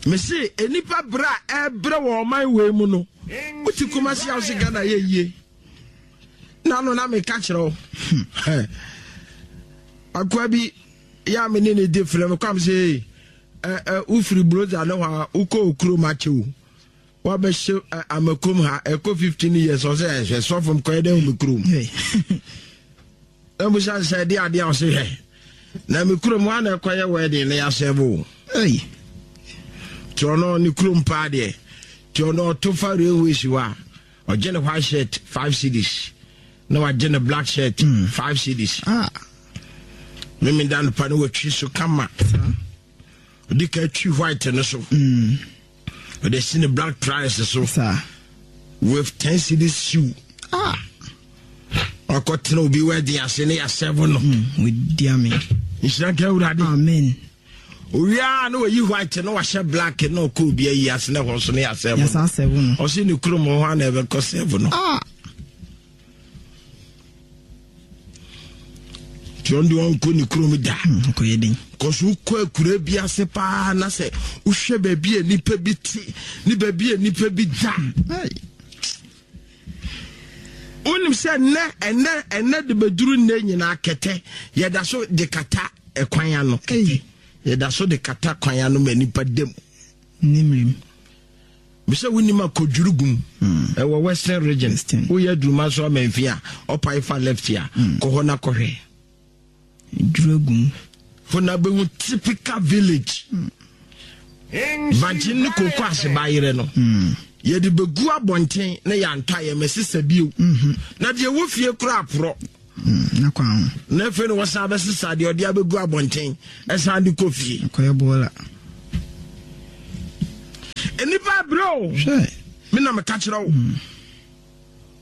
E: Mese nnipa berɛ a ɛbrɛ wɔ ɔman wei mu no wote Kumasi a wose Ghana yɛ yie na no na meka kyerɛ wo akoa bi yɛ a me ne ne di frɛ me kwam sɛ wofiri brosa ne hɔ a wokɔ okurom akyɛ o wabɛhyɛ amakom ha ɛkɔ 15 years ɔsɛ ɛhwɛ sɔfo mkɔyɛ dɛ wo me kurom na musa sɛ ɛde adeɛ a ɔsɛ hwɛ na me kurom hɔ a na ɛkɔyɛ wedding na yɛasɛ bo nti ɔno ne kurom paa deɛ nti ɔno ɔto fa railways hɔ a ɔgye ne white shirt 5 cedis na wagye ne black shirt 5 cedis
F: Ah.
E: Memeda no pa no watwi so kama ɔde ka twi white no so ɔde si ne black price so with 10 cedis shoe.
F: Ah.
E: Ɔkɔtena obi wedding ase ne yɛasɛvo no.
F: Wɔdi ame.
E: Nhyira nka Awurade.
F: Amen.
E: Owia na wayi white na wahyɛ black na ɔkɔ obi ayi ase na ɛhɔ nso ne yɛasɛvo
F: no.
E: Ɔse ne kurom hɔ a na ɛbɛkɔ sɛvo no.
F: Ah.
E: Nti ɔno deɛ ɔnkɔ ne kurom da.
F: Ɔkɔyɛ den.
E: Kɔso wokɔ akura bi ase paa na sɛ wohwɛ baabi a nipa bi te ne baabi a nipa bi da. Wonim sɛ nnɛ ɛnnɛ ɛnnɛ de bɛduru nnɛ nyinaa kɛtɛ yɛda so de kata ɛkwan ano kɛtɛ yɛda so de kata kwan ano ma nipa dam.
F: Ne mmerem.
E: Mesɛ wonim akɔdwuru gum ɛwɔ Western Region woyɛ aduruma so amanfi a ɔpae fa left a kɔ hɔ na kɔhwɛ.
F: Dwuru gum.
E: Hɔ na bɛhu typical village. Bankye ne koko ase bayerɛ no yɛde bɛgu abɔnten na yɛantɔ a yɛmɛsesa bio. Na deɛ ɛwɔ fie koraa aporɔ.
F: Na kwan ho.
E: Na afei na wɔsan bɛsesa deɛ ɔde abɛgu abɔnten ɛsan de kɔ fie.
F: Akɔyɛ bɔɔla.
E: Nnipa abrɛ o.
F: Hwɛ.
E: Me na meka kyerɛ wo.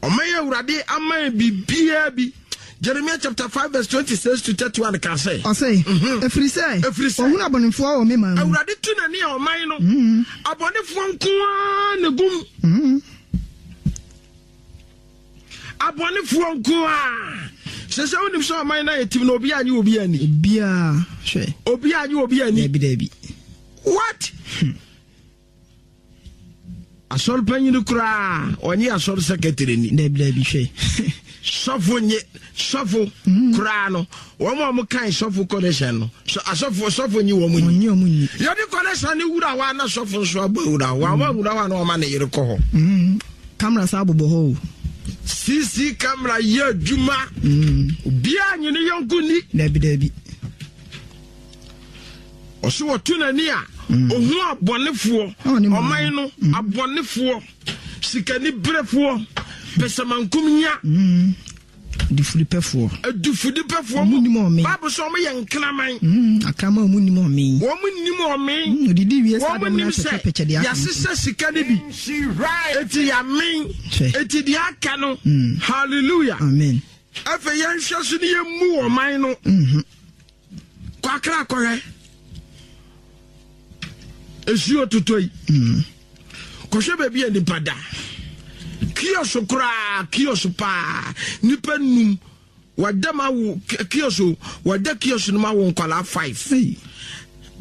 E: Ɔman yi Awurade ama yɛn biribiara bi. Jeremiah chapter 5 verse 26 to 31 ka sɛ.
F: Ɔse, Ɛfiri sɛ,
E: Ɛfiri sɛ,
F: ɔhunu abɔnefoɔ wɔ me man mu.
E: Awurade tu n'ani a ɔman no, abɔnefoɔ nko ara na egu mu. Abɔnefoɔ nko ara. Sɛ sɛ wonim sɛ ɔman no ayɛ tim na obiara nye obi ani.
F: Obiara, hwɛ.
E: Obiara nye obi ani.
F: Dabi, dabi.
E: What? Asɔre panyin koraa ɔnye asɔre secretary ni.
F: Dabi dabi hwɛ.
E: Sɔfo nye sɔfo mm. koraa no wɔn a wɔn kan sɔfo connection no so asɔfo sɔfo nye wɔn
F: ni. Ɔnye wɔn ni.
E: Yɛde connection ne wura hɔ a na sɔfo nso abɔ wura hɔ wɔn awura hɔ a na wɔn ama ne yere kɔ hɔ.
F: Mm. Camera saa bobɔ hɔ o.
E: CC camera yɛ adwuma. Mm. Obiara nye ne yɔnko ni.
F: Dabi dabi.
E: Ɔso wɔto n'ani a mm. ohun abɔnefoɔ ɔman no mm. abɔnefoɔ sikaniberefoɔ pɛsɛmankum nya
F: mm. adufudepɛfoɔ
E: adufudepɛfoɔ mu
F: nim ɔme
E: baabu sɛ wɔn yɛ nkraman
F: akraman wɔn nim ɔme
E: wɔn nim ɔme
F: odidi wie saa
E: wɔn nim sɛ yasesa sika no bi eti yamen eti deɛ aka no hallelujah
F: amen
E: afei yɛn hwɛ so ne yɛn mu ɔman no.
F: Mm-hmm.
E: Kɔ Accra kɔhwɛ nsuo totɔ yi.
F: Mm.
E: Kɔhwɛ baabi a nipa da. Kiosk koraa kiosk paa nipa num wɔda ma wo kiosk wɔda kiosk no ma wo nkwadaa five.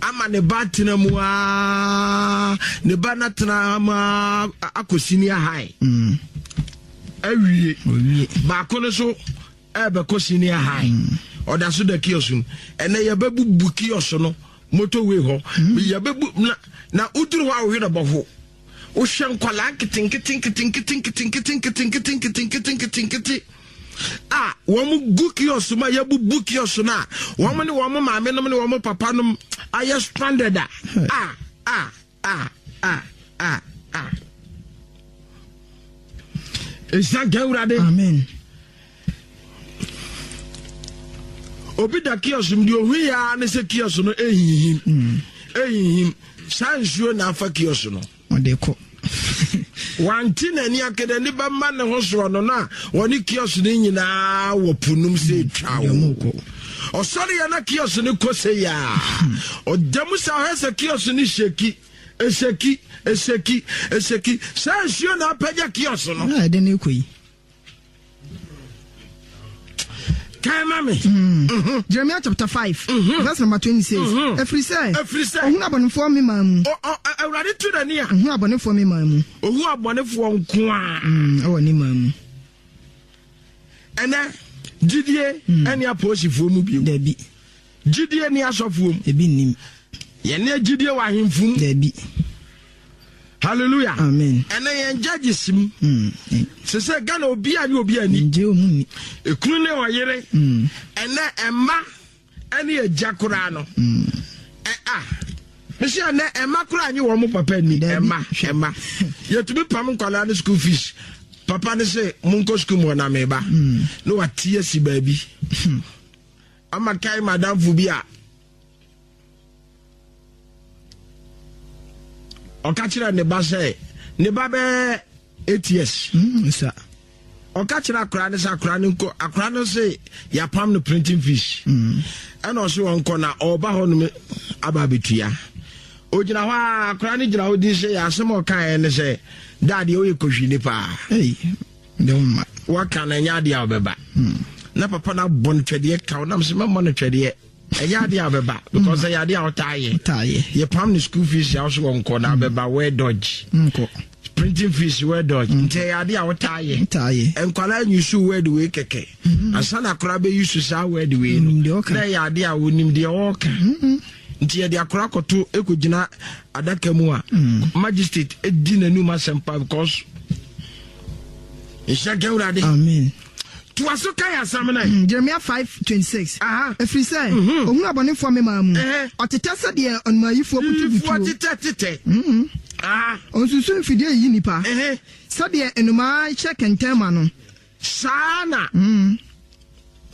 E: Ama ne ba tena mu aa ne ba na tena mu aa akɔ senior high.
F: Mm.
E: Awie. Baako no so. Ɛrebɛkɔ senior high. Ɔda so da kiosk mu. Ɛnɛ yɛbɛbubu kiosk no motorway hɔ. Yɛbɛbu na na woduru hɔ a wohwɛ na bɔho. Wohwɛ nkwadaa nketenkete nketenkete nketenkete nketenkete nketenkete nketenkete a wɔn gu kiosk mu a yɛbubu kiosk no a wɔn ne wɔn maame nom ne wɔn papa nom ayɛ stranded a a a a a a a. Nhyira nka Awurade.
F: Amen.
E: Obi da kiosk mu deɛ ohu yɛ ara ne sɛ kiosk no ehinhim. Mm. Ehinhim. Saa nsuo na afa kiosk no.
F: Ɔde kɔ.
E: Wante n'ani akɛdɛ ne bɛma ne ho soɔ no na wɔne kiosk no nyinaa wɔ po nom sɛ etwa o. Ɔsɔre yɛ na kiosk no kɔ sɛ yaa. Ɔda mu sa ɔhɛ sɛ kiosk no hyɛki. Eseki, eseki, eseki. Saa nsuo na apagya kiosk no.
F: Na ɛde ne kɔ yi.
E: Kan ma me.
F: Mm. Mm-hmm. Jeremiah chapter 5 mm-hmm. verse number 26. Mm-hmm. Ɛfiri sɛ.
E: Ɛfiri sɛ.
F: Ohun abɔnefoɔ me man mu.
E: Awurade tu n'ani a.
F: Ohun abɔnefoɔ me man mu.
E: Ohun abɔnefoɔ nko a.
F: Mm, ɛwɔ ne man mu.
E: Ɛnɛ gyidie mm. ɛne apolisifoɔ mu bio.
F: Dabi.
E: Gyidie nni asɔfoɔ mu.
F: Ebi nnim.
E: Yɛne gyidie wɔ ahemfo mu.
F: Dabi.
E: Hallelujah.
F: Amen.
E: Ɛnɛ yɛn judges mu.
F: Mm.
E: Sɛ sɛ Ghana obi a ne obi ani.
F: Ngye ɔmu ni.
E: Ekunu ne ɔyere.
F: Mm.
E: Ɛnɛ ɛma ɛne agya koraa no.
F: Mm.
E: Ɛ a. Mesi ɛnɛ ɛma koraa nye wɔn papa ni. Ɛma ɛma. Yɛtumi pam nkwadaa ne school fees. Papa ne se monkɔ school mu hɔ na meba.
F: Mm.
E: Ne wate asi baabi.
F: Hmm.
E: Ama kae m'adamfo bi a ɔka kyerɛ ne ba sɛ ne ba bɛɛ eight years.
F: Mm,
E: ɔka kyerɛ akora no sɛ akora no nkɔ akora no se yɛapam no printing fees
F: mm.
E: ɛna ɔse wɔnkɔ na ɔba hɔ nom aba abɛtua ogyina hɔ a akora no gyina hɔ din sɛ yɛ asɛm a ɔkaeɛ ne sɛ daadeɛ woyɛ kɔhwini paa
F: De wo mma.
E: Waka no ɛnyɛ adeɛ a ɔbɛba.
F: Hmm.
E: Na papa no abɔ no twɛdeɛ kaw nam sɛ mɛmmɔ no twɛdeɛ. Ɛnyɛ adeɛ a ɔbɛba because ɛyɛ adeɛ a ɔtaa yɛ.
F: Ɔtaa yɛ.
E: Yɛpam no school fees a ɔso wɔ nkɔ na ɔbɛba where dodge.
F: Nkɔ.
E: Printing fees where dodge.
F: Hmm.
E: Nti ɛyɛ adeɛ a ɔtaa yɛ.
F: Ɔtaa yɛ.
E: Nkwadaa nyusu word wei kɛkɛ.
F: Hmm.
E: Ansa na akwadaa bɛyusu saa word wei no. Na ɛyɛ adeɛ a onim deɛ ɔɔka. Nti yɛde akora kɔto ɛkɔgyina adaka mu a
F: mm.
E: magistrate ɛdi n'anum asɛm pa because nhyɛ nka awurade
F: amen.
E: Toa so kan asɛm no ɛ.
F: Jeremia 5:26. Ɛfiri sɛ, ɔhunu abɔnefoɔ memaa mu. Ɔtetɛ sɛdeɛ ɔnomayifoɔ
E: Yifoɔ
F: butubutuo.
E: tetɛ tetɛ.
F: Ɔnsusu mfidie yiyi nnipa. Sɛdeɛ nnomaa hyɛ kɛntɛn ma no.
E: Saa na.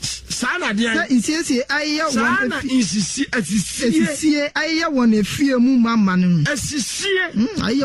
E: Saa na deɛn?
F: Sɛ nsiesie ayeyɛ wɔn
E: Saa na
F: afi.
E: nsisi asisie.
F: Asisie ayeyɛ wɔn afie mu ma ma no.
E: Asisie.
F: Ayeyɛ.